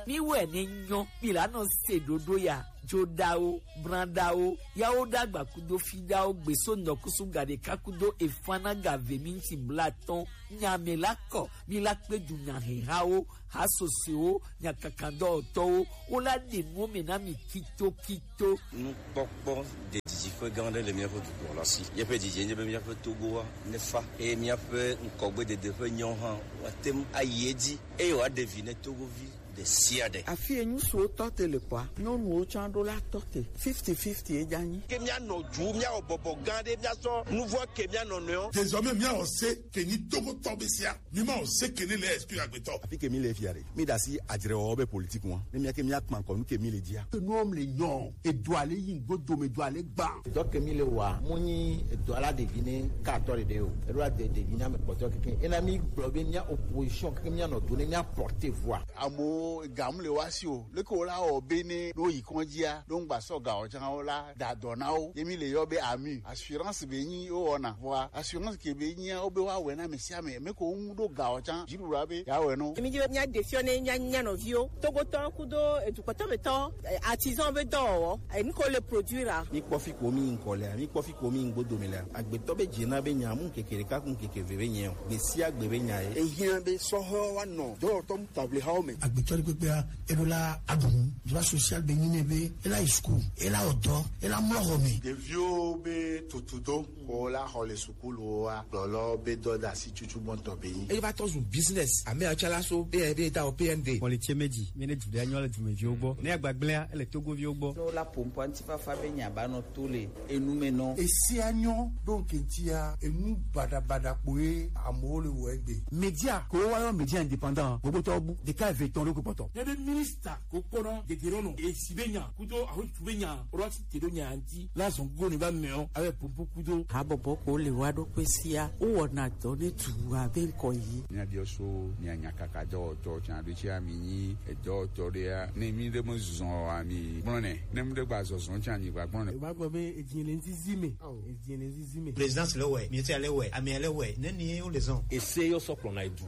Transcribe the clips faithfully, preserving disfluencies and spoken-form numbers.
Mi wɛ ne nyɔ, mi la nɔ se ɖoɖo ya, joɖawo, branɖawo, yawo ɖagba kudo fiɖawo, gbeso nɔkusu gaɖeka kudo efana gave minti blatɔn, nyame la kɔ, mi la kpe du nyahehawo, hasosewo, nyakakadɔwɔtɔwo, wo la ɖe nuwo me na mi kito kito. Nukpɔkpɔ ɖe didiƒe gã aɖe le míaƒe dukɔ la si. Míaƒe didi nye be míaƒe Togoa nefa, eye míaƒe ŋkɔgbedede ƒe nyawo hã woate ŋu ayi edzi, eye wòaɖe vi ne Togovi ɖe sia ɖe. Afi yi ŋutsuwo tɔ te le kpɔa, nyɔnuwo tsã ɖo la tɔ te. Fifty fifty ye dza nyi. Ke míanɔ dzu, míawɔ bɔbɔ gã aɖe, míasɔ nuvɔ ke mía nɔnɔewo. Désormais, míawɔ se ke nyi Togotɔ be sia. Mi ma o se ke ne le esprit agbetɔ. Afi ke mi le fia ɖe, mi ɖe asi adzrewɔwɔ be politique ŋua. Ne mía ke mía kpa ŋkɔ nu ke mi le dzia. Enua mi le nyɔ, edo ale yi ŋgbo dome, edo ale gba. Edɔ ke mi le wa, mu nyi edɔ ala ɖevi ne ka atɔ ɖeɖe o. Eɖo ade ɖevi na me kpɔtɔ keke. Ena mi gblɔ be mía opposition keke mía nɔ do ne mía porter voix. Amewo ga mu le wa si o. Leke wo la wɔ be ne ɖo yi kɔndzia, ɖo ŋgba sɔ ga o tsã wo la da dɔ na wo. Ye mi le yɔ be ami. Assurance be nyi wo wɔna. Vɔa assurance ke be nyia wo be wa wɛ na ame sia ame. Me ko ŋu ɖo ga o tsã. Dziɖuɖua be ya wɛ no. Mi dzi be mía ɖe fiɔ ne mía, mía nɔviwo. Togotɔ kudo edukpɔtɔ me tɔ, eh, artisan be dɔwɔwɔ. Eh, nu ko le produire. Mi kpɔ fi ko mi ŋkɔ lea, mi kpɔ fi ko mi ŋgbo dome lea. Agbetɔ be dze na be nya mu ŋkeke ɖeka ku ŋkeke eve be nyɛ o. Gbe sia gbe be nya ye. Ehiã be sɔhɔ wa nɔ dɔwɔtɔ mu table hawo me. Agbetɔ ɖe kpekpea, eɖo la aɖu nu. Droit social be nyi nɛ be ela yi school, ela wɔ dɔ, ela mlɔ xɔ me. Ɖeviwo be tutudo ko la xɔ le sukuluwoa, gblɔlɔ be dɔdasi tutu gbɔntɔ be nyi. Eye va tɔ zu business, ame atsalaso be be ta o P N D. Xɔ le tse me dzi, mi ne du ɖe anyɔ le dumeviwo gbɔ. Ne agbagblẽa, ele Togoviwo gbɔ. Ne wola ƒo ŋkɔ ŋutifafa be nya ba nɔ to le enu me nɔ. Esia nyɔ ɖo ŋke ŋutia, enu baɖabaɖa kpoe amewo le wɔ egbe. Média ko wa yɔ média indépendant, gbogbo tɔ bu, ɖeka eve tɔn ɖo kpɔtɔ. Nye be minista ko kpɔnɔ gegere nɔ, esi be nya, kudo ahotu be nya, ɔrɔ si te ɖo nya ŋuti, la zɔn go ne va mɛ o, abe popo kudo. Habɔbɔ ko le wa ɖo kpe sia, wo wɔna dɔ ne tu abe ŋkɔ yi. Mía biɔ so, mía nya kaka dɔwɔtɔ tsan ɖo tsi ami nyi edɔwɔtɔ ɖe ya. Ne mi ɖe me zɔn ami gblɔ nɛ, ne mi ɖe gba zɔzɔ tsan mi gba gblɔ nɛ. Eva gblɔ be edzi le ŋzizi me. Edzi le ŋzizi me. Présidence le wɛ, ministre le wɛ, amea le wɛ, ne ni wo le zɔn. Ese yɔ sɔ kplɔ na edu.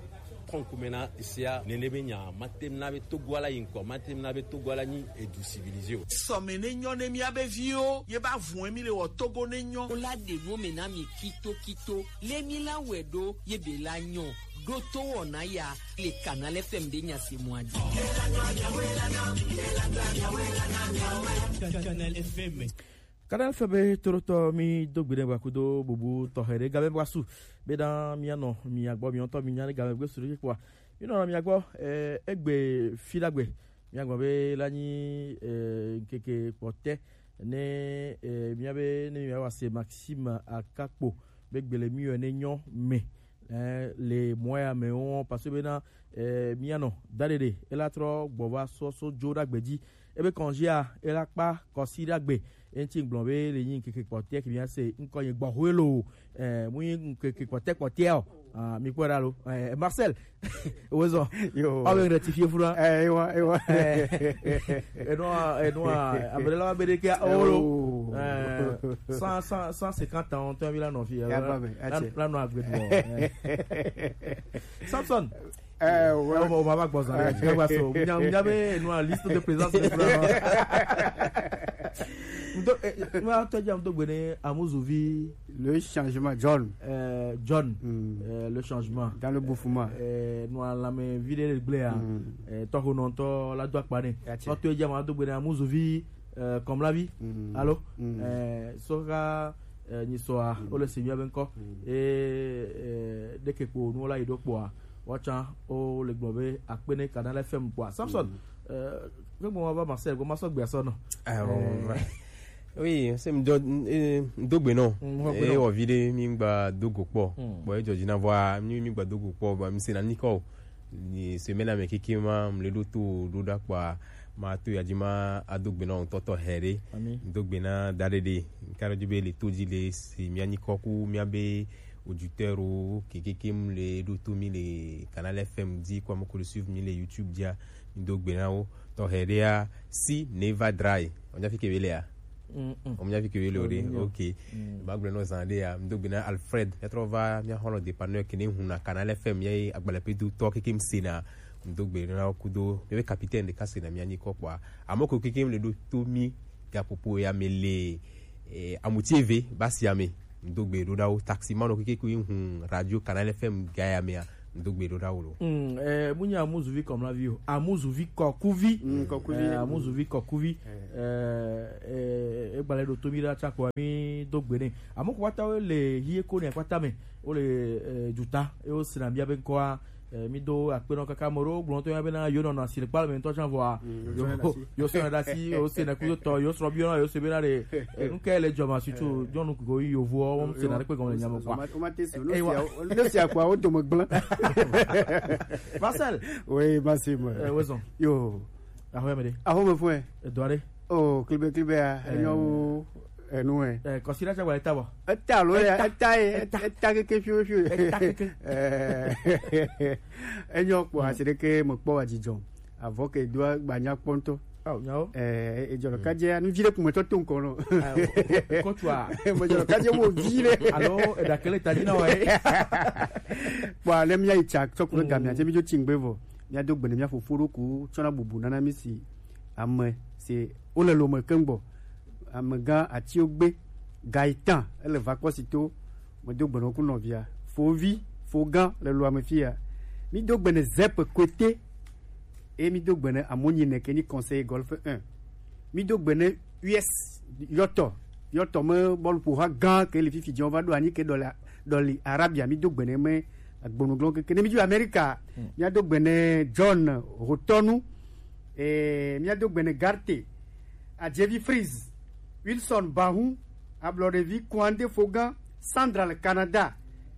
Kɔ ŋkume na esia, nene be nya, mate na be Togo ala yi ŋkɔ, mate na be Togo ala nyi edu civilisé o. Sɔme ne nyɔ ne mía be viwo, ye ba vun mi le wɔ Togo ne nyɔ. Wo la ɖe nuwo me na mi kito kito, le mi la wɛ ɖo, ye be la nyɔ, ɖo to wɔna ya, le Canal F M ɖe nya se mɔ adzi. Canal F M. Canal F M be torotɔ mi do gbe ɖe gbakudo bubu tɔxɛ ɖe game gbasu. Be na mía nɔ mía gbɔ, mía ŋutɔ mí nya ɖe game gbe su ɖe kpɔa. Mí nɔ mía gbɔ, eh, egbe fi ɖagbe. Mía gbɔ be la nyi, eh, ŋkeke kpɔtɛ ne, eh, mía be ne mía wa se Maxime Akakpo be gbele mí yɔ ne nyɔ me. Eh, le mɔ ya me wo, parce que be na, eh, mía nɔ da ɖe ɖe, ela trɔ gbɔ va sɔ so jo ɖagbe dzi. Ebe kɔnzia, ela kpa kɔsi ɖagbe. Enti gblɔ be le nyi ŋkeke kpɔtɛ ke mía se ŋkɔ nyi gbɔ hoe lo. Eh, mu nyi ŋkeke kpɔtɛ kpɔtɛ o. Ah, mi kpɔ ɖa lo. Eh, Marcel. Wozɔ. Yo. Awe rectifier fura. Eh, ewa, ewa. Eh, enua, enua, abele la be de ke o lo. Oh. Eh, cent, cent, cent cinquante ans, on t'a vu la non fille. Ya ba be, la, ache. La non agbe bon. Eh. Samson. Eh, ouais. Eh, o ma va gbɔ zan ɖe, dzi va so. Nya, nya be, enua liste de présence de fura. Ŋdo, eh, nua tɔ dzi ŋdo gbe ne Amuzuvi. Le changement, John. Euh, John. Mm. Euh, le changement. Dans le bouffement. Euh, nua lame vi ɖe le gblea. Mm. Euh, tɔxo nɔntɔ la do akpa ne. Tɔ to dzi ma do gbe ne Amuzuvi, euh, comme la vie. Mm. Allô? Mm. Euh, soka, euh, nyi soa, mm, o le se mía be ŋkɔ. Mm. Et, euh, ɖeke kpo nu la yi ɖo kpoa. Woatsã wo le gblɔ be akpe ne Canal F M kpɔa. Samson, mm, eh, ke gbɔ ma va Marseille, gbɔ ma sɔ gbea sɔ nɔ. Ah, oh, eh, ouais. Oui, se mi do, eh, do gbe nɔ. Mm, mo gbe nɔ. Eh, wɔ vi ɖe mi gba do go kpɔ. Mm. Bon, e jɔ dzi na vɔa, mi, mi gba do go kpɔ, ba mi se na ni kɔ. Ni semaine me keke ma, mi le ɖo to ɖo ɖa kpɔa, ma to ya dzi ma a do gbe nɔ tɔtɔ hɛ ɖe. Ami. Do gbe na da ɖe ɖe. Ka ɖo dzi be le to dzi le se mi anyi kɔ ku mi a be auditeur wo kekekem le ɖo to mi le Canal F M dzi, kɔ ame ko le suivre mi le YouTube dzia, mi do gbe na wo. Tɔxɛ ɖea, si neva dry. O nya fi ke be lea? Mm, mm. O nya fi ke be le o ɖe? Oh, yeah. Ok. Mm. Ma gblɔ nɔ zan ɖea, mi do gbe na Alfred. Ya trɔ va, mi a xɔlɔ dépanneur ke ne hun na Canal F M ye agbalẽ pe do tɔ kekem se na. Ŋdo gbe ɖo na wo kudo míaƒe capitaine ɖeka si na mía nyikɔ kpɔa. Ame ko keke le ɖo to mí gaƒoƒo ya me le eh, amuti eve basi ame. Ŋdo gbe ɖo na wo taxi manɔ keke ko hun radio Canal F M ga ya mea. Ŋdo gbe ɖo na wo lo. Mm, eh, munya amuzuvi kɔmlavi o. Amuzuvi kɔkuvi. Mm, kɔkuvi. Eh, amuzuvi kɔkuvi. Eh, eh, egbalẽ ɖo to mí ɖa tsakɔ mí do gbe ne. Ame ko kpata wo le hie ko ne kpata me. Wo le eh, juta. E wo sina mía be ŋkɔa. Eh, mi do akpe nɔ kaka ame ɖewo gblɔ tɔ ya bena yewo nɔnɔ asi le kpalẽ me ŋutɔ tsã vɔa. Mm, yewo sɔna ɖe asi. Yewo sɔna ɖe asi, yewo se na kudo tɔ, yewo srɔ̃ biɔ na yewo se bena ɖe, eh, nu kae le dzɔma sutu nyɔnu ko yi yovoɔ, wɔm sena ɖe kpe gɔme le nyame kpɔa. Woma te su, Eh, wa- ne sia kpɔa, wo dome gblẽ. Marcel. Oui, Maxime. Eh, wezɔn. Yo. Ahoya me ɖe. Aho me fue. Edɔ ɖe. Oh, klibe klibe ya, Eh. Enyo wo, enu e. Eh, kɔsi ɖe tsɛ gba eta bɔ. Eta lo ya, Eta. Eta ye, Eta. Eta keke fiofio. Eta keke. Eh, enyo kpɔ, Mm. Asi ɖe ke me kpɔ wa dzidzɔ. Avɔ ke do gbanya kpɔ ŋutɔ. Oh, nyawo. Eh, ejɔ ɖe kadze, nu vi ɖe kume tɔ to ŋkɔ nɔ. Ah, o-, o-, kɔtua. Me jɔ ɖe kadze mo vi ɖe. Alo, eɖa kele ta dzi na wa ye. Kpɔ, ne mía yi tsa tsɔ ku ɖe gamea, Mm. tse mi dzo tsi ŋgbe vɔ. Mía do gbe ne mía fofo ɖo ku tsɔ na bubu nana mi si ame si wo le lome keŋ gbɔ. Amegã Atiogbe Gaetan, ele va kpɔ si to, medo gbe nɔ ku nɔvia. Fovi, fogã le lo ame fia. Mi do gbe ne Zep Kwete, e mi do gbe ne Amonyi ne ke ni conseil golf un. Mi do gbe ne U S yɔtɔ, yɔtɔ me bɔlu ƒo ha gã ke le fifi dzi va ɖo anyi ke ɖɔli, ɖɔli Arabia. Mi do gbe ne me agbonuglɔ keke. Ne mi dzo Amerika, Hmm. Mía do gbe ne John Hotɔnu, eh, mía do gbe ne Garte, Adjevi Freeze, Wilson Bahun, Ablɔɖevi Kuande Fogan, Sandra le Canada,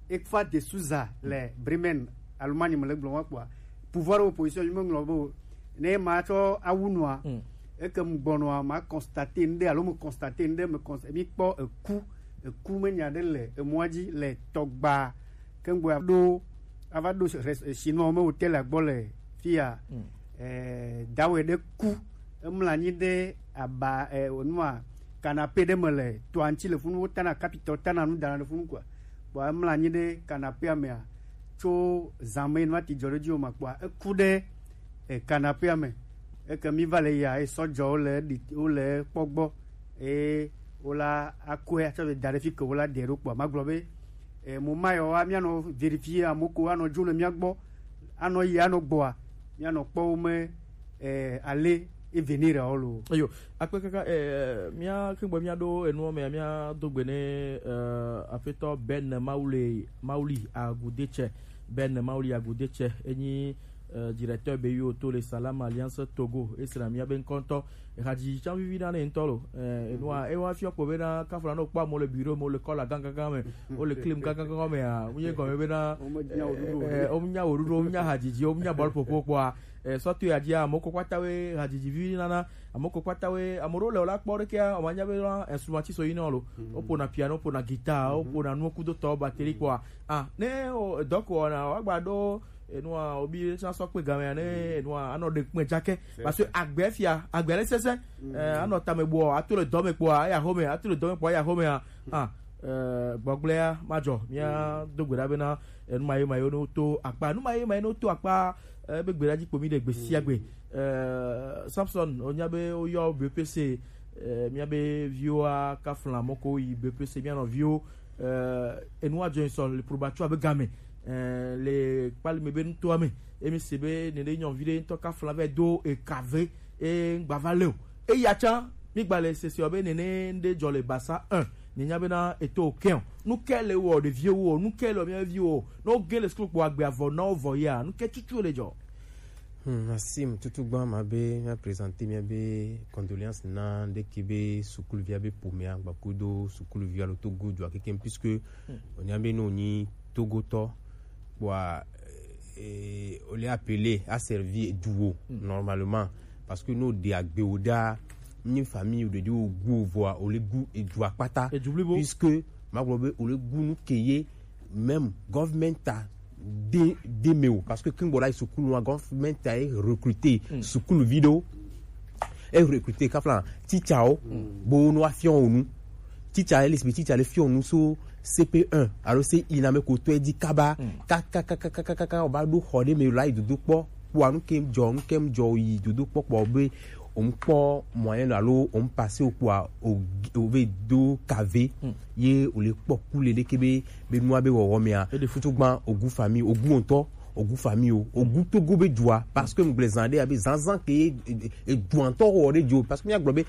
Ekfa de Souza le Bremen, Allemagne me le gblɔ wa kpɔa. Pouvoir opposition mi me ŋlɔ bo. Ne ma tsɔ awu nua, Mm. eke mu gbɔnɔa, ma constater ŋɖe alo me constater ŋɖe, me const-, mi kpɔ eku, eku me nya ɖe le emɔa dzi le tɔgba. Kengbe ɖo ava ɖo res-, Chinois me hotel gbɔ le fia. Mm. Eh, dawe ɖe ku. Emla anyi ɖe aba, eh, onua canapé ɖe me le toa ŋuti le funu, wotana kapitɔ, tana nu dana ɖe funu kɔa. Kpɔa emla anyi ɖe canapéa mea, tso zã me nua ti dzɔ ɖe dzi o ma kpɔa, eku ɖe, eh, canapéa me. Eke mi va le ya, esɔ dzɔ wo le ɖi, wo le kpɔ gbɔ. Eye wola akɔe atsɔ le da ɖe fi ke wola ɖe ɖo kpɔa. Magblɔ be, eh, mo ma yɔ wa, míanɔ vérifier amo ko anɔ dzo le mía gbɔ, anɔ yi, anɔ gbɔa, míanɔ kpɔ wo me, eh, ale e venir o lo. Eyo, akpe kaka, eh, mía ke gbɔ mía ɖo enuɔ me, mía do gbe ne, eh, aƒetɔ Ben Mauli, Mauli Agudetsɛ, Ben Mauli Agudetsɛ, enyi eh, directeur B U O to le Salam Alliance Togo, esra mía be ŋkɔ ŋutɔ. Ehadzidzi tsã vivi na ne ŋutɔ lo. Eh, enua, ewa fiɔ kpɔ be na kafla no kpɔ amewo le bureau, amewo le kɔla gãgãgã me, wo le klim gãgãgã me a, wo nye gɔme be na, Wo me nya wo ɖuɖu o. Eh, wo nya wo ɖuɖu, wo nya hadzidzi, wo nya bɔl ƒoƒo kpɔa. Eh, sɔto ya dzia, ame ko kpata we hadzidzi vivi nana, ame ko kpata we, ame ɖewo le wo la kpɔ ɖe kea, wo ma nya be na instrument so yi na lo. Wo ƒona piano, wo ƒona guitar, wo ƒona nuwo kudo tɔ batterie kpɔa. Ah, ne o, dɔ ko wɔna, wa gba ɖo enua, obi ɖe tsã sɔ kpe game ya ne enua, anɔ ɖe kpɛ dzake. Parce que agbe fia, agbe le sese. Eh, anɔ tame bɔ, ato le dɔme kpɔa, ya home, ato le dɔme kpɔa, ya home a. Ah, eh, gbɔgblea, ma dzɔ, mía do gbe ɖa be na, eh, nu ma ye ma ye no to akpa, nu ma ye ma ye no to akpa, eh, be gbe ɖa dzi kpo mi ɖe gbe sia gbe. Eh, Samson, onya be oyɔ B P C, eh, mía be viwo a kafla mɔ ko yi B P C, mía nɔ viwo, eh, enua dzɔ sɔ le probatsua be game, eh, le kpali me be nutoa me. Emi se be nene nyɔvi ɖe ŋutɔ kafla vɛ do ekave, e ŋgba va le o. Eya tsã, mi gba le sese be nene ŋɖe dzɔ le Basa un. Ni nya be na eto o kɛn o. Nu kɛ le wɔ ɖeviwo o, nu kɛ le wɔ mía viwo o. Ne wo ge le sukulu kpɔ agbe avɔ na wo vɔ ya, nu kɛ tutu le dzɔ. Hmm, Maxime, tutu gbã ma be mía présenter mía be condoléances na ɖeke be sukuluvia be ƒomea, gbakudo sukuluvia lo Togo dua kekem, puisque onya be no nyi Togotɔ, kpɔa, eh, on est appelé à servir duo normalement, parce que no de agbe o da, ni famille de duo gu voa o le gu e dua kpata, Edu blibo. Puisque ma gblɔ be o le gu nu ke ye même government a de, de me o, parce que kin gbɔ la sukulu wa government a e recruter sukulu vi ɖewo, e recruter kafla teacher wo bo no afiɔ wo nu. Teacher e le si teacher le fiɔ nu so C P un alo C I na me ko to e di kaba, kaka kaka kaka kaka o ba do xɔ ɖe me la yi dodo kpɔ. kpɔa nu ke jɔ nu ke jɔ yi dodo kpɔkpɔ be o ŋkpɔ moyen alo o ŋ passer o kpɔa o o ve do kave ye o le kpɔ ku le ɖeke be be nua be wɔwɔ mea. Eɖe futu gban ogu famille, ogu ŋutɔ, ogu famille o, ogu togo be dua, parce que ŋgble zan ɖe abe zanzan ke e- e- eduantɔ wɔ ɖe dzo, parce que mía gblɔ be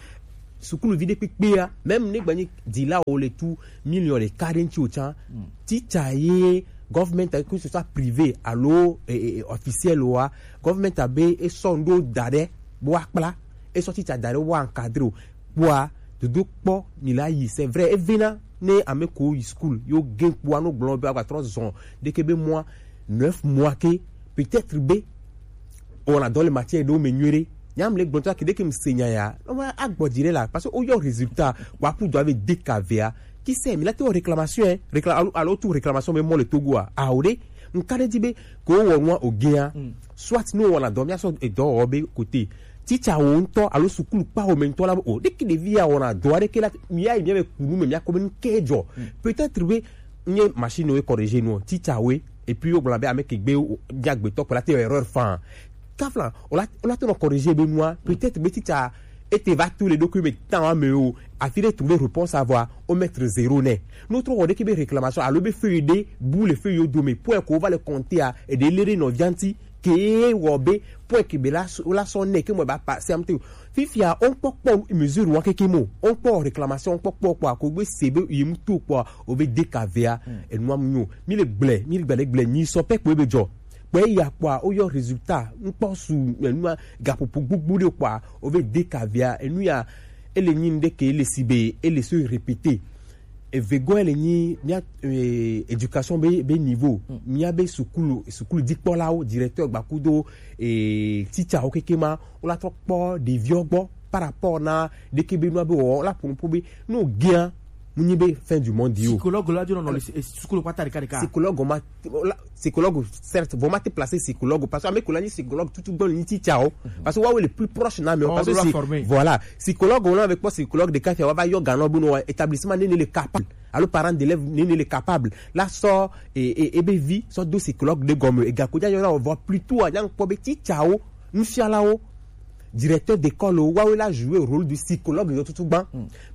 sukuluvi ɖe kpekpea, même ne gbanyi dila o le tu million ɖeka ɖe ŋuti o tsã, teacher ye government, que ce soit privé alo e- e- e- officiel oa, government abe esɔ ŋɖo da ɖe bo akpla, esɔ teacher da ɖe wa encadrer o. Kpɔa dodo kpɔ mi la yi, c'est vrai, evena ne ame ko yi school yo gen kpɔa no gblɔ be agba trɔ zɔn ɖeke be mɔa neuf mois ke, peut-être be o na dɔ le matière ɖewo me nyuie ɖe. Nyam le gbɔntɔ ke ɖeke mi se nya ya, no ma agbɔ dzi ɖe la, parce que o yɔ résultat wa ku do ave de kavea. Qui sait, mi la te wɔ réclamation, hein, récla- alo, alo tu réclamation be mɔ le Togo a, a o ɖe. Nka ɖe dzi be ko wɔ nua o gen a, soit no wɔna dɔ mia sɔ edɔ wɔ be côté teacher wo ŋutɔ alo sukulu kpa wo me ŋutɔ la o ɖeki ɖevi ya wɔna dɔ aɖeke la, mia yi mia be kunu me mia ko be nu ke jɔ. Peut-être be nye machine wo corriger nu, teacher wo, et puis wo gblɔ be ame ke gbe mia gbetɔ kpla te erreur fan. Kafla o la o la te nɔ corriger be nua, peut-être be teacher ete va to le ɖokui me tan wa me o, afi ɖe trouver réponse avoir o mettre zéro nɛ. No trɔ wɔ ɖeke be réclamation alo be feuille ɖe bu le feuille yo dome point ko va le compter a, eɖe le ɖe nɔvia ŋuti ke wɔ be point ke be la sɔ- la sɔ nɛ ke mɔ ba passer am te. Fifia o ŋkpɔ kpɔ mesure wa keke mo, o ŋkpɔ réclamation, o ŋkpɔ kpɔ kpɔ ko gbe se be yi mu to kpɔ o be de kavea. Enua mu nyo, mi le gblɛ mi le gblɛ gblɛ nyi sɔ pɛ kpɔ be jɔ. Kpɛ ya kpɔa o yɔ résultat ŋkpɔ su enua gaƒoƒo gbogbo ɖe kpɔa o ve de kavia enu ya ele nyi ŋɖe ke ele si be ele so répéter. Evegɔ ele nyi mia eh, éducation be be niveau, mia be sukulu sukulu dikpɔlawo, directeur gbakudo eh, teacher wo keke ma, wo la trɔ kpɔ ɖeviwo gbɔ par rapport na ɖeke be nua be wɔ la ƒo nuƒo be no gea mu nyi be fin du monde yo. Psychologue la dzo nɔ le eh, sukulu kpata ɖeka ɖeka. Psychologue ma la- psychologue, certes, vɔ ma te placer psychologue parce que ame ko la nyi psychologue tutu gbɔn nyi teacher o, parce que wa wo le plus proche na me o, parce que c'est voilà, psychologue wo la avec pas psychologue de café wa va yɔ ganɔ bu no établissement ne ne le capable alo parent d'élève ne ne le capable la sɔ et et et be vi sɔ do psychologue de gomme et gako ja yɔ na vɔ plutôt a nya kpɔ be teacher o, nufiala o, directeur d'école o, wa wo la jouer rôle du psychologue yo tutu gbɔn.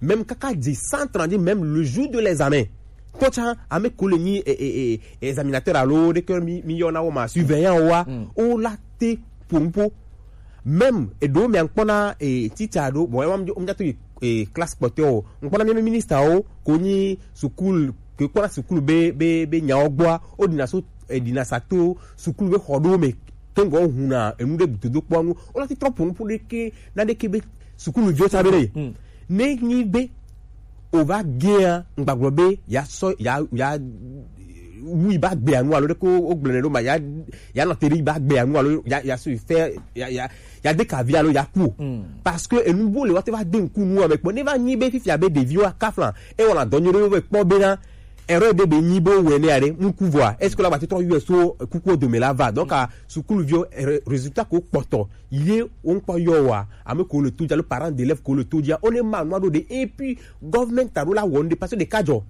Même kaka di centre dit même le jour de l'examen, kpɔtsa ame ko le nyi eh, eh, eh, examinateur alo ɖeke mi mi yɔ na wo ma surveillant wa o la te pompo. Même eɖo mi ankpɔ na eh, teacher ɖo bon wa mi ja to eh, classe kpɔtɔ o, nkpɔ na mi ministre o ko nyi sukulu ke kpɔ na sukulu be be be nyawo gbɔa o dina so eh, dina sa to sukulu be xɔ ɖo me kengɔ huna enu ɖe dodo kpɔ nu o la ti trɔ pompo ɖeke na ɖeke be sukulu viwo sa be ɖe ne nyi be o va gea ŋgbagblɔ be ya sɔ ya ya wui ba gbea nu alo ɖe ko o gblɔ ne ɖo ma ya ya nɔ te ɖe ba gbea nu alo ya ya so fɛ ya ya ya de kavi alo ya ku o. Parce que enu bo le wa te va de ŋku nu ame kpɔ ne va nyi be fifia be ɖeviwo akafla e wɔna dɔ nyuie ɖe wo ve kpɔ be na erreur ɖe be nyi be wowɔe nɛ aɖe ŋku vɔa est-ce que la va te trɔ yɔe so kukuwo dome la va donc a sukuluviwo re- résultat ko kpɔtɔ ye wo ŋkpɔ yɔ wa ame ko le to dzi alo parent d'élève ko le to dzia wo ne ma nua ɖo ɖe et puis government alo la wɔ nu ɖe parce que ɖeka dzɔ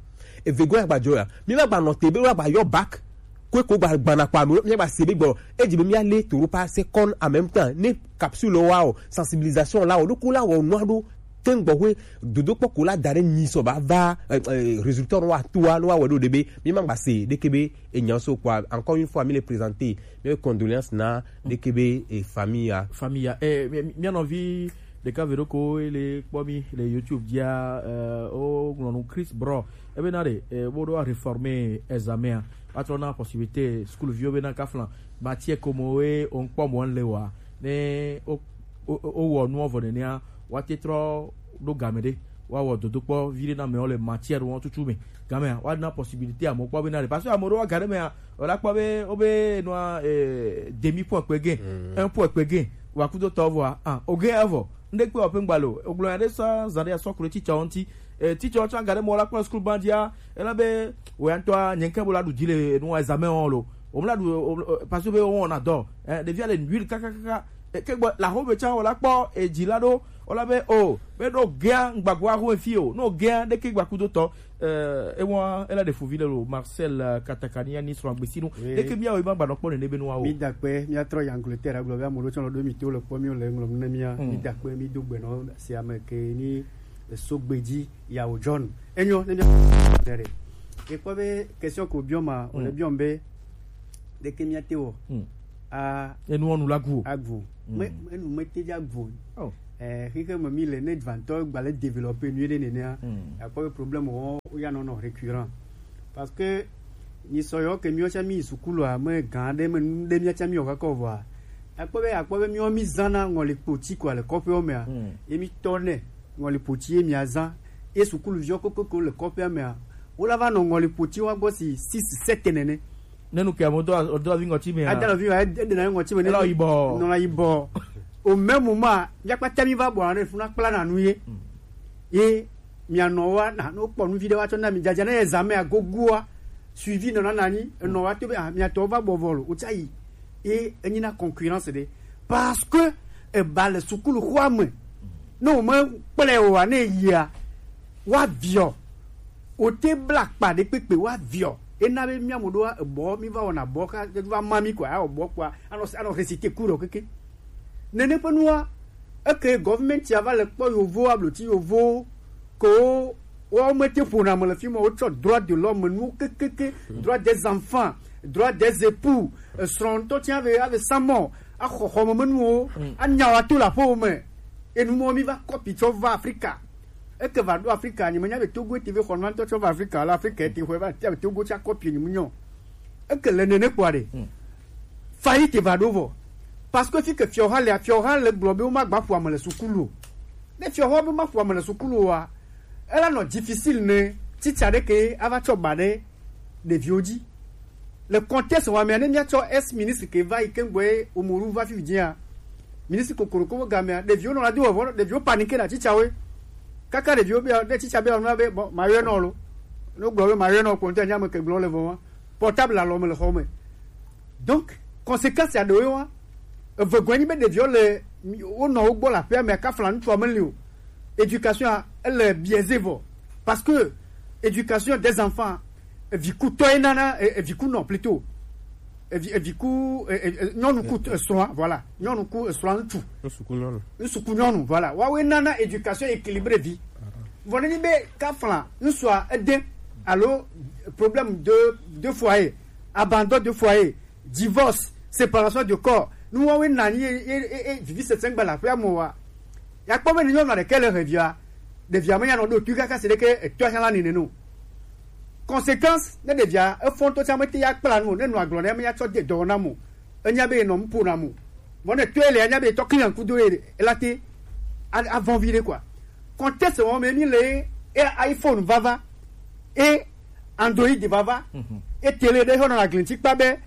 eve gɔ̃ agba dzɔ ya mi va gba nɔ te be wo la gba yɔ bac ko ko gba gbana kpa mi mi gba se be gbɔ edzi be mi ale to ɖo pa second en même temps ne capsule wa o sensibilisation la o ɖo ko la wɔ nua ɖo te ŋgbɔ hoe dodo kpɔ ko la da ɖe nyi sɔ ba va eh, eh, résultat nɔ wa to wa nɔ wa wɔ ɖo ɖe be mi ma gba se ɖeke be enya so kpɔ encore une fois mi le présenter mes condoléances na ɖeke be eh, famille ya. Famille ya eh, mi- mi- mia nɔvi ɖeka ve ɖo ko ele kpɔ mi le YouTube dzia eh, o ŋlɔ nu Chris Bro ebe na ɖe eh, wo ɖo réformer examen a wa trɔ na possibilité school viwo be na kafla matière ko mo we o ŋkpɔ mo le wa ne o o- o- o wɔ nuɔ vɔ nenea wa te trɔ ɖo game ɖe wa wɔ dodokpɔ vi ɖe na mɛ wo le matière wo tutu me game a wa na possibilité amewo kpɔ be na ɖe parce que amewo ɖo wa ga ɖe mɛ a o la kpɔ be o be nua eh, demi point kpe ge un point kpe ge wa kudo tɔ vɔa ah o ge evɔ ŋɖe kpe wa pe ŋgba lo o gblɔ ya ɖe sɔ zan ɖe ya sɔ kuro titsawo ŋti eh, titsawo tsɔ aga ɖe mɔ la kpɔ school bandia ela be o ya ŋutɔ nye ŋke bo la ɖu dzi le nua examen wɔn lo o mla ɖu o- o- parce que be wɔn na dɔ eh, ɖevia le nui kakakaka eh, ke gbɔ la ho be tsã o la kpɔ edzi la ɖo Ola be o, be no gea ngbago aho efi o. No gea de ke gbakudo to. Eh, e wa ela de fuvi le lo Marcel, eh, Katakania ni sro agbesinu. Oui. De ke mi awo ma gba no kpɔ nene be no awo. Mi da kpe, mi atrɔ yi Angleterre agblɔ be ame ɖewo tsɔ nɔ ɖo mi to le kpɔ mi le ŋlɔ ne mia. Hmm. Mi da kpe, mi do gbe nɔ si ame ke ni so gbeji ya o John. Enyo ne mi dere. E kpɔ be question ko biɔ ma, o le biɔ be de ke mi ate wɔ. Hmm. A enu onu la gu. Agu. Hmm. Me, enu me te ja gu. Oh. Eh, xexe me mi le ne vantɔ gba le développer nu ɖe nenea. Hmm. Akpɔ be problème wo, wo ya nɔ nɔ récurrent. Parce que ni sɔyɔ ke mi wo cha mi sukulu a me gan ɖe me nu ɖe mi cha mi o ka kɔ vɔa. Akpɔ be, akpɔ be mi wo mi zana ŋɔli kpoti kɔ le kɔƒewo mea. Hmm. Ye mi tɔ ne ŋɔli kpoti ye mi azan. Ye sukulu viɔ kokoko le kɔƒea mea. Wo la va nɔ ŋɔli kpoti wa gbɔ si six, sept nene. Ne nu ke amewo do, do avi ŋɔti me a? Ada avi me, e, e ɖena ŋɔti me ne. Ela yibɔ. Nɔna yibɔ. Au même moment, míakpata mi va bɔ ne funa kpla na nu ye. Mm. Ye mianɔ wa na no kpɔ nu vi ɖe wa tsɔ na mi dzadza ne examen agogoa. Suivi nɔna na nyi, enɔ wa to be, ah, miatɔ va bɔ vɔ lo, o tsa yi. Ye enyi na concurrence ɖe. Parce que eba le sukulu xɔa me. Ne o me kplɔe o wa ne yia, wa viɔ. O te bla kpa ɖe kpekpe wa viɔ. Ena be mía mo ɖo ebɔ, mi va wɔna bɔ ka, va ma mi kɔ, awɔ bɔ kpɔa, anɔ, anɔ réciter cours ɖo keke. Nene ƒe nua, eke government ya va le kpɔ yovo, abloti yovo, ko wo me te ƒona me le fi ma, wotsɔ droit de l'homme nu kekeke, droit des enfants, droit des époux, esrɔ̃ ŋutɔ tia ave, ave samɔ, axɔ xɔme me nuwo, anya wa to le aƒewo me. Enu mɔ mi va kɔpi tsɔ va Afrika. Eke va ɖo Afrika, nyi menya be Togo ete ve xɔ nua ŋutɔ tsɔ va Afrika, la Afrika ete xɔe va tia be Togo tsa kɔpi nyi munyɔ. Eke le nene kpɔa ɖe. Hmm. Faillite va ɖo vɔ. Parce que fi ke fiɔ ha le, fiɔ ha le gblɔ be wo ma gba ƒo ame le sukulu o. Ne fiɔ ha be ma ƒo ame le sukulu oa, ela nɔ difficile ne titsa ɖe ke ava tsɔ ba ɖe ɖeviwo dzi. Le contexte wa mea, ne míatsɔ ex ministre ke va yi ke ŋgbɔe Omoru va fi dzia, ministre kokoroko be gamea, ɖeviwo nɔ la do vɔvɔ, ɖeviwo paniquer na titsawoe. Kaka ɖeviwo be, ne titsa be nua be, bon, ma yɔe nɔ lo. Ne gblɔ be ma yɔe nɔ kpɔ ŋutɔ nya me ke gblɔ le vɔ wa. Portable alɔ me le xɔ me. Donc, conséquence ya ɖewoe wa. Eve gɔe nyi be ɖeviwo le, wo nɔ wo gbɔ le aƒea me, ka fla ŋutsua me li o. Éducation a, ele biaisé vɔ. Parce que éducation des enfants, evikutɔ ye nana, e, evikunɔ plutôt. Evi, eviku, e, e, e, nyɔnu ku, e, srɔ̃a, voilà. Nyɔnu ku, e, srɔ̃a ŋutsu. Ŋsuku nyɔnu. Ŋsuku nyɔnu, voilà. Woawoe nana éducation équilibrée vi. Vɔ ne nyi be kafla ŋsua ede alo problème de, de foyer, abandon de foyer, divorce, séparation de corps. Nuwoawoe na anyi ye, ye, ye, ye vivi sesẽ gbe le aƒea me wa. Ya kpɔ be ne nyɔnua ɖeke le he via, ɖevia me ya nɔ ɖo tu kaka se ɖeke etɔa hã la nene no. Conséquence, ne ɖevia efɔ ŋutɔ tsã mete ya kpla nu o, ne nɔ agblɔ ne me ya tsɔ de dɔwɔna mo. Enya be nɔ mpo na mo. Vɔ ne tɔe le anya be tɔ client kudo ye la te a, avɔn vi ɖe quoi. Contexte wɔn me mi le e iPhone vava. E Android vava. Mhm. E télé ɖe xɔ nɔ aglinti kpa be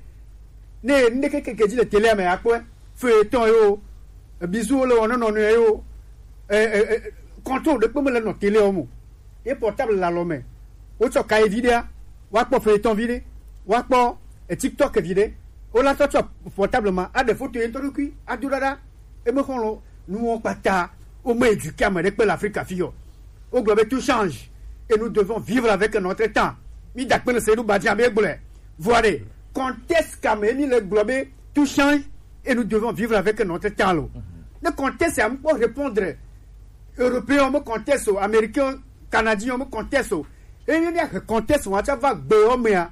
ne ŋɖe keke dzi le télé me akpɔe. Feuilleton yo, bizu le wɔn nɔ nɔ yo. E, e, e, contrôle ɖe kpe me le nɔ télé o mo. Ye portable le alɔ me. Wotsɔ kaye vi ɖea, woakpɔ feuilleton vi ɖe, woakpɔ, e, TikTok vi ɖe. Wola tɔ tsɔ portable ma, aɖe foto ye ŋutɔ ɖokui, ado ɖaɖa. Eme xɔlɔ, nuwo kpata, wome éduquer ame ɖe kpe le Afrika fi o. Wogblɔ be tout change et nous devons vivre avec notre temps. Mi da kpe ne se ɖo badia be gblɔe. Voilà. Contexte ka me mi le gblɔ be tout change et nous devons vivre avec notre temps lo. Ne contexte ya mkpɔ répondre, Européen me contexte o, Américain, Canadien me contexte o. Eye míahe contexte wa tsã va gbewo mea,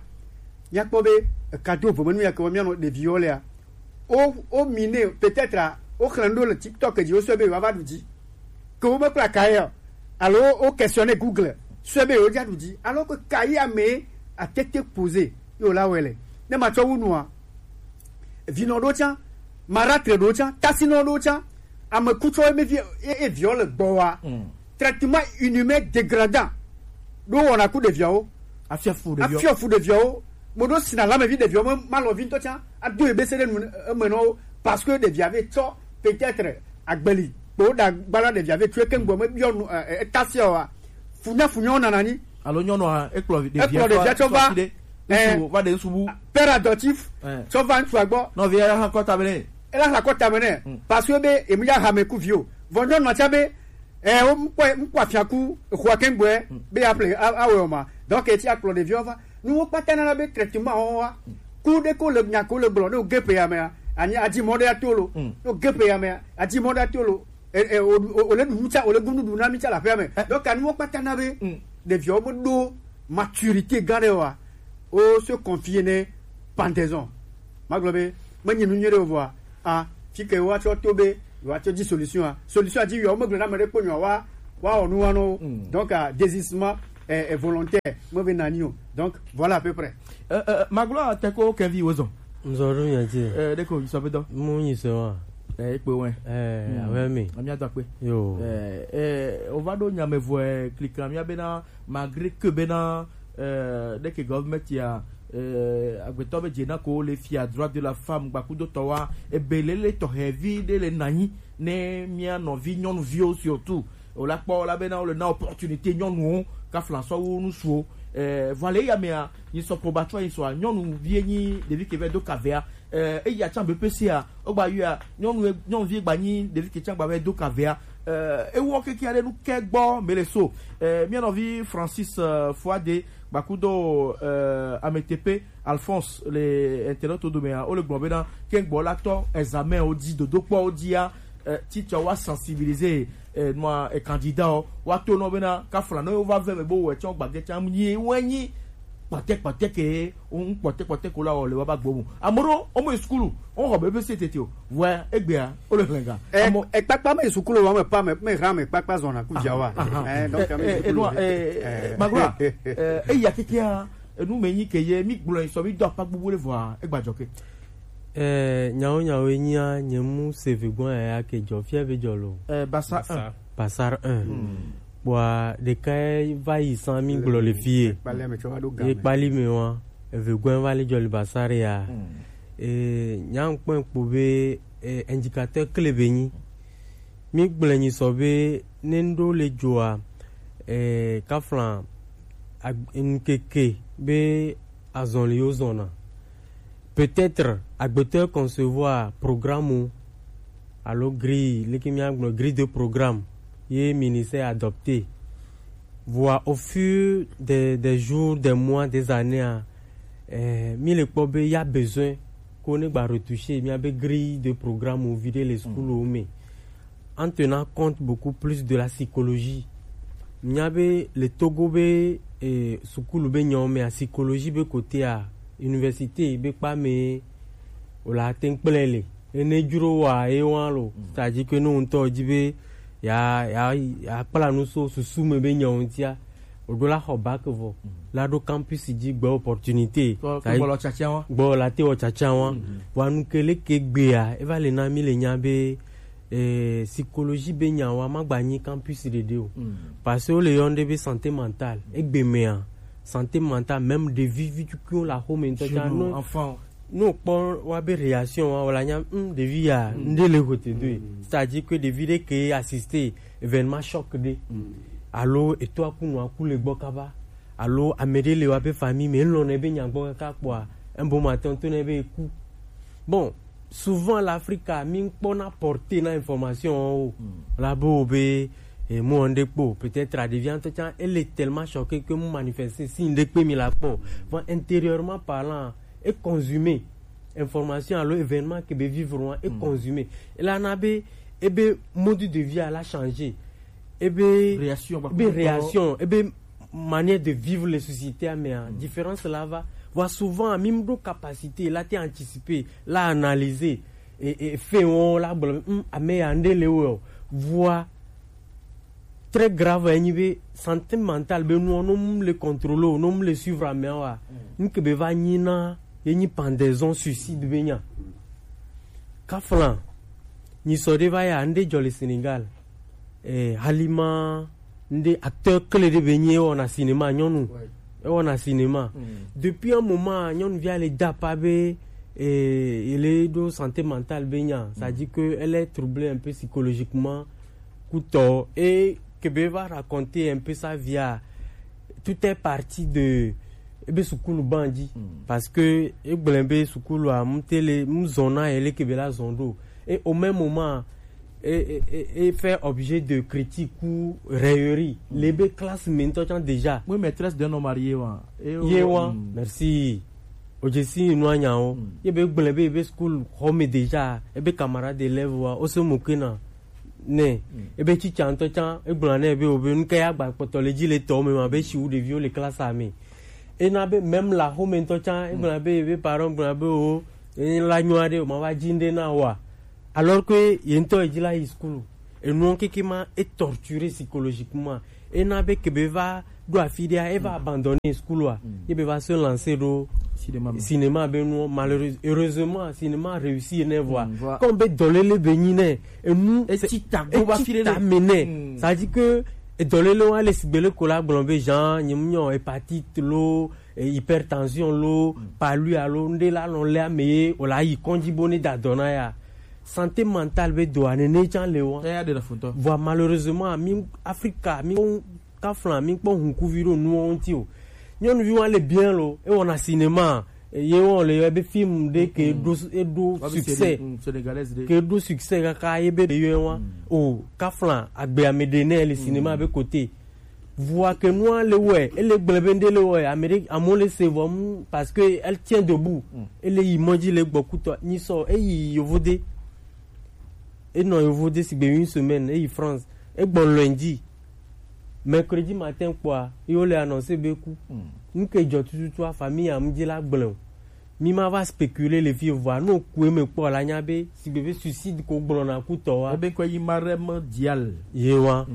míakpɔ be eka do vomenu ya ke wɔ míanɔ ɖeviwo lea. Wo, wo mine peut-être a, woxlẽ nu ɖo le TikTok dzi, wosɔe be yewoava ɖu dzi. Ke womekpla kaye o, alo wo questionner Google, sɔe be yewoadza ɖu dzi. Alors que kaye ame atete poser ye wòla wɔe le. Ne matsɔ wu nua, vinɔ ɖewo tsã, maratre ɖewo tsã, tasinɔ ɖewo tsã, ame kutsɔ ye, ye, ye viɔ le gbɔwa. Mm. Traitement inhumain dégradant ɖo wɔna ku ɖeviawo. Afia fu ɖeviawo. Afia fu ɖeviawo. Mo ɖo sina lamevi ɖeviawo me, malɔvi ŋutɔ tsã ado ye bese ɖe nu eme nɔ wo, parce que ɖevia ve tsɔ peut-être agbeli kpo ɖa gbala ɖevia ve tsɔe ke ŋgbɔ me biɔ nu, e, e, etasia wa. Funya funya wo nana nyi. Alo nyɔnua ekplɔ vi-, ɖevia ekplɔ ɖevia tsɔ va, ŋutsu va ɖe ŋutsu bu. Père adoptif, eh, tsɔ va ŋutsua gbɔ. Nɔvia ya hã kɔ tame nɛ. Ela hã kɔ tame nɛ. Mm. Parce que be emu ya hame ku vi o. Vɔ nyɔnua tsã be Eh, wo mkpɔ mkpɔ afiaku xɔa kɛngbɔɛ be aƒle awɛ o ma. Donc eti akplɔ ɖeviwo va. Nuwo kpata nana be traitement wo wa. Ku ɖe ko le nya ko le gblɔ ne o ge pe ya mea. Anyi adi mɔ ɖe ato lo. Ne o ge pe ya mea adi mɔ ɖe ato lo. Eh, eh, o o- o le ɖu nu tsa o le gu nuɖuɖu na mi tsa le aƒea me. Donc anuwo kpata na be ɖeviwo be ɖo maturité gã ɖe wa. O se confier ne pendaison. Magblɔ be menye nu nyuie ɖe o vɔa. A fi ke woatsɔ to be yewoatsɔ dzi solution a solution a dzi yɔ womegblɔ na ame ɖe kpɔ nyɔa wa wa wɔ nu wa nɔ wo. Donc a désistement est volontaire, mebe nani o. Donc voilà à peu près. Maglo a teko kevi wozɔ. Nzɔ ɖo nya dzi. Ɖeko yi sɔ be dɔ. Mu nyi se wa. Ekpe wɛ. Awɛ mi. Amia dɔ akpe. Yo. Ova ɖo nyame vɔɛ klika mia bena malgré que bena ɖeke government ya agbetɔ be dze na ko le fia droit de la femme gbakudo tɔ wa ebe lele tɔxɛ vi ɖe le nanyi ne mia nɔvi nyɔnuviwo surtout o la kpɔ la bena o le na opportunité nyɔnuwo ka flansɔ wo nusuwo. Vɔ le ya mea nyi sɔ probatsɔ nyi sɔa nyɔnuvi nyi ɖevi ke vɛ do kavea eya tsan be pese a o gba yua nyɔnu nyɔnuvi gba nyi ɖevi ke tsan gba vɛ do kavea. Ewɔ keke aɖe nu kɛ gbɔ mele so. Mia nɔvi Francis Fuade gbakudo Ametepe Alphonse le internet domea o le gblɔ bena kɛngbɔ la tɔ examen o di dodokpɔ o dia titsa wa sensibiliser nua candidat o wa to nɔ bena kafla nɔ yo va vɛ me bo wɛ tsɔ gbagɛ tsam nyi wɛ nyi kpɔtɛ kpɔtɛ ke o ŋu kpɔtɛ kpɔtɛ ko la o le wa ba gbomu amoro o mo sukulu o xɔ be be se tete o vɔa egbea o le hlɛnga. Ekpakpa me sukulu wa me pa me me hra me kpakpa zɔna ku jawa. Donc me sukulu. Magro eya kekea enu me nyi ke ye mi gblɔ sɔ mi do apa gbogbo le vɔa egba jɔ ke. Nyawo nyawo nyia nye mu seve gbɔn ya ke jɔ fia be jɔ lo. Basa. Basar un. Bua ɖeka va yi san mi gblɔ le fie ye kpali me wa eve gbɔn va le jɔ le basar ya. Nya ŋkpɔ ŋkpo be indicateur kle be nyi mi gblɔ nyi sɔ be ne ŋɖo le joa kaflan ŋkeke be azɔli yo zɔna. Peut-être agbetɔ concevoir programme alo grille leke mia gblɔ grille de programme ye ministère adopté. Voire au fur des, des jours, des mois, des années a eh, mi le kpɔ be ya besoin ko ne gba retoucher mia be grille de programme o vi ɖe le sukulu o me. En tenant compte beaucoup plus de la psychologie. Mia be le Togo be eh, sukulu be nyawo mea psychologie be côté a université be kpa me o la te ŋkplɛ le ene dzro wa ye wa lo c'est-à-dire que ne ŋutɔ dzi be ya ya ya kpla nu so susu me be nyawo ŋutia o ɖo la xɔ bac vɔ la ɖo campus dzi gbe opportunité gbɔ la te wɔ tsatsa wa vɔ anu ke leke gbea eva le na mi le nya be eh, psychologie be nya wa ma gba nyi campus ɖeɖe o parce que wo le yɔn ɖe be santé mentale egbe mea santé mentale même ɖevi vi tukuiwo le axome ŋutɔ tsa no no kpɔ wa be réaction wa wala nya ŋ ɖevi ya ŋɖe le hote do c'est-à-dire que ɖevi ɖe ke assister événement choc ɖe alo eto aku nu aku le gbɔ kaba alo ame ɖe le wa be famille me lɔn ne be nya gbɔ kaka kpɔa un bon matin to ne be ku bon souvent l'Afrique mi kpɔ na porter na information o la bo be e mo nde kpo peut-être a devient to chan elle est tellement choquée que mo manifester si nde pe mi la kpɔ bon intérieurement parlant e consommer information alo événement ke be vivre wan e consommer e la na be e be mode de vie a la changer e be réaction be réaction e be manière de vivre les sociétés mais différence là va voit souvent même de capacité là te anticiper là analyser et, et fait on là ame ya nde le wo voit très grave enyi be santé mentale be nous on le contrôler non le suivre mais wa nke be va nyi na ye nyi pendaison suicide be nya kaflan nyi sɔ de va ya nde jɔ le Sénégal eh, Halima nde acteur clé de be nyi e wɔna cinéma nyɔnu e wɔna cinéma depuis un moment nyɔnuvia le da pa be eh, il est do santé mentale be nya c'est à dire que elle est troublée un peu psychologiquement kutɔ et que be va raconter un peu sa vie à tout est parti de ebe sukulu bandzi parce que egblẽ be sukulu a mutele muzɔna ele ke be la zɔn ɖo et au même moment Et, et, et, et fait objet de critique ou raillerie. Le be classe maintenant déjà. Oui, maîtresse d'un homme marié, wa. Ye wa, merci. Ojesi nu anya o. Ye be gblẽ be be school home déjà. E be camarade d'élève wa. O se moquer na. Ne. E be teacher ŋutɔ tsã, e gblɔ ne be o be nu ke ya gba kpɔtɔ le dzi le tɔ me ma be si wu ɖeviwo le classe me. Ena be même la home ŋutɔ tsã, e gblɔ be, be parent gblɔ be o, e la nyɔ aɖe o ma va dzi ŋɖe na wa. Alors que ye ŋutɔ ye dzi la yi school. Enuɔ keke ma e torturer psychologiquement. Ena be ke be va ɖo afi ɖea, e va abandonner school wa. Ye be va se lancer ɖo cinéma be nuɔ. Malheureusement, heureusement, cinéma réussi ne vɔa. Comme be dɔlele be nyi ne, enu e tsi ta go va fi ɖe ta me ne. Ça dit que edɔlele wa le sigbe le ko la gblɔ be Jean, nye mu nyɔ hépatite lo, eh, hypertension lo, palu alo, ŋɖe la nɔ le ame ye, o la yi kɔndzi bo ne da dɔ na ya. Santé mentale be doa nene tsã le wa. Eya ɖe la fotɔ. Vɔa malheureusement, mi Afrika, mi kafla, mi kpɔ hunkuvi ɖo nuwo ŋuti o. Nyɔnuvi wa le bien lo, e wɔna cinéma, eh, ye wɔ le yɔ be film ɖe ke ɖo, e ɖo succès. Ke ɖo succès kaka ye be ɖe yɔ wa. O, kafla, agbe ame ɖe ne le cinéma be côté. Vua ke nua le wɔe, ele gblẽ be ŋɖe le wɔe, Amérique, amewo le se vɔ mu, parce que elle tient debout. Ele yi mɔ dzi le gbɔ kutɔ, nyi sɔ, eyi yovo de. Enɔ yovo de sigbe une semaine, eyi France. Egbɔ lundi. Mercredi matin kpɔa, yo le annoncer be ku. Nke dzɔ tututu a famille am dzi la gblẽ o. Mi ma va spéculer le vie vɔa, no ku eme kpɔ la nya be, sigbe be suicide ko gblɔna kutɔ wa. Ebe kɔ yi Marem Dial. Ye wa.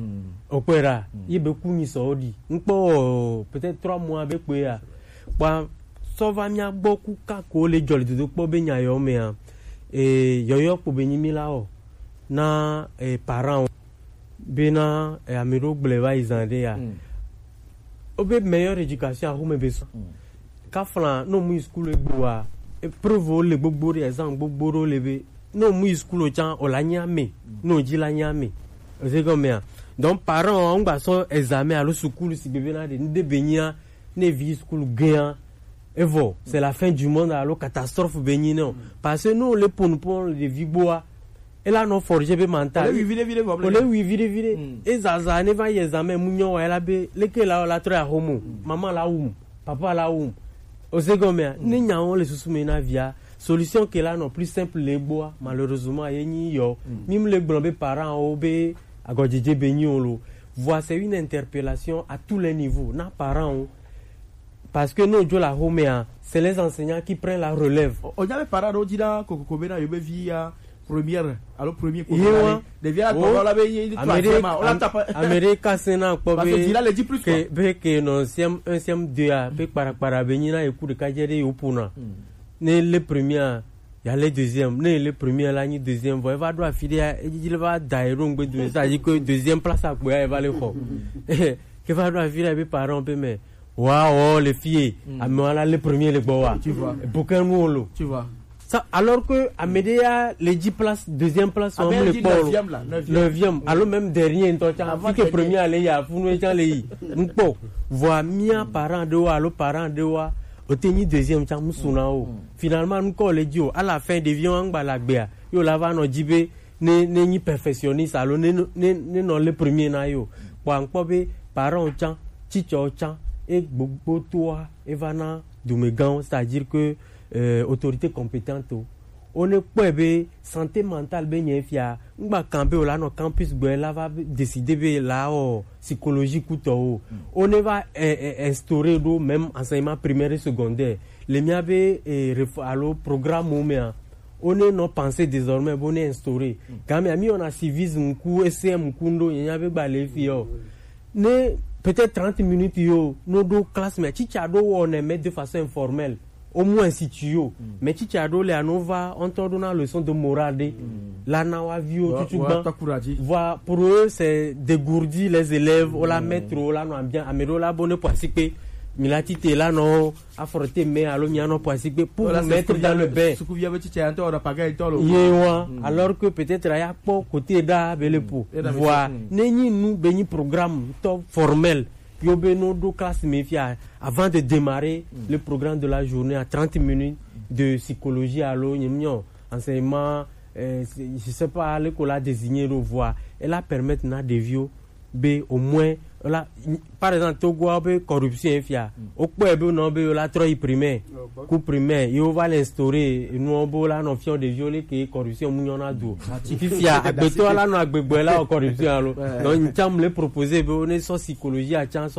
Okpera, ye be ku nyi sɔ o ɖi. Ŋkpɔ, peut-être trois mois be kpe ya. Kpa, sɔ va mia gbɔ ku ka ko le dzɔ le dodo kpɔ be nya yɔ mea. E, yɔyɔ kpo be nyi mi la o. Na, e, parent o. Bena, eh, ame ɖewo gblẽ va yi zã ɖe ya. Wobe meilleure éducation axome be sɔ. Kafla, no mu yi school egbe wa, épreuve wo le gbogbo ɖe, exam gbogbo ɖewo le be, no mu yi school o tsã, o la nya me, no dzi la nya me. Ose gɔmea. Donc, parent wo, ŋgba sɔ examen alo sukulu si be bena ɖe, ŋɖe be nyia, ne vi school gea, evɔ, c'est la fin du monde alo catastrophe be nyi ne o. Parce que no le ponu pon le vi gboa, ela nɔ forger be mental. Ole wi viɖe viɖe vɔ. Ole wi viɖe viɖe. Ezaza ne va yi examen mu nyɔ wa ela be leke la la trɔ ya homo. Maman la wum, papa la wum. Ose gɔmea, ne nyawo le susu me na via, solution ke la nɔ plus simple le gboa, malheureusement ye nyi yɔ. Mi mu le gblɔ be parent wo be agɔdzedze be nyi o lo. Vɔa c'est une interpellation à tous les niveaux na parent wo. Parce que no dzo la homea, c'est les enseignants qui prennent la relève. O nya be parent ɖewo dzi ɖa kokoko bena yewo be vi ya première alo premier ko. Ye wa. Ɖevia la tɔ la be ye troisième ma, o la tapa. Ame ɖe ka se na kpɔ be ke, be ke nɔ C M un, C M deux a, be kparakpara be nyi na ye ku ɖeka dze ɖe yewo pona. Ne le premier a, ya le deuxième, ne le premier la nyi deuxième, vɔ eva ɖo afi ɖe ya, edzi le va da ye ɖo ŋgbe dome, c'est-à-dire que deuxième place akpo ya eva le xɔ. Ke va ɖo afi ɖe be parent be me, wa o le fie, ame wa la le premier le gbɔ wa. Tu vois. Bouquin nu o lo. Tu vois. Ça, alors que ame ɖe ya le dix place, deuxième place, on le kpɔ lo. Neuvième. Alo même dernier ŋutɔ tsã, fi ke premier le ya, funu tsã le yi. Ŋkpɔ. Vɔa mia parent ɖewo alo parent ɖewoa, o te nyi deuxième tsã, mu suna o. Finalement, ŋkɔ le dzi o. À la fin, ɖeviwo ŋgba la gbea, yo la va nɔ dzi be, ne, ne nyi perfectionniste alo ne, ne, ne nɔ le premier na yo. Kpɔ ankpɔ be parent tsã, teacher tsã, e gbogbo toa, e va na dumegãwo, c'est-à-dire que, euh, autorité compétente o. O ne kpɔe be santé mentale be nye fia, ŋgba kan be o la nɔ campus gbɛ la va décider be la o psychologie kutɔ o. O ne va, eh, eh, instaurer ɖo même enseignement primaire et secondaire. Le mia be, eh, ref-, alo programme o mea, o ne nɔ penser désormais bo ne instaurer. Game ami on a civisme ku, E C M ku ndo, nya be gba le fi o. Ne peut-être trente minutes yo, no ɖo classe me, teacher ɖo wɔ ne mais de façon informelle. Au moins si tu yo. Mais teacher ɖo le ano va, on tɔ ɖo na leçon de morale ɖe. La na wa viwo tutu gban. Voilà, pour eux, c'est dégourdir les élèves, o la mettre, o la nɔ ambiance, ame ɖo la bo ne poisikpe. Mi la tite la nɔ affronter mais alo mia nɔ poisikpe pour vous mettre dans le bain. Ye wa, alors que peut-être aya kpɔ côté ɖa be le po. Voilà, ne nyi nu be nyi programme tɔ formel, yo be no ɖo classe me fia, avant de démarrer le programme de la journée à trente minutes de psychologie alo nye mio enseignement, Eh, c'est- je sais pas, le ko la désigner le voix. Elle a permettre na deviwo be au moins la, par exemple, Togo be corruption fia. Au point be non be la trop primaire. Ku primaire, il va l'instaurer. Nous on la non fion de violer que corruption mouillon a dou. Fifia, agbeto la non agbegbe la corruption alo. Donc, nous sommes les proposer be on est sur psychologie à chance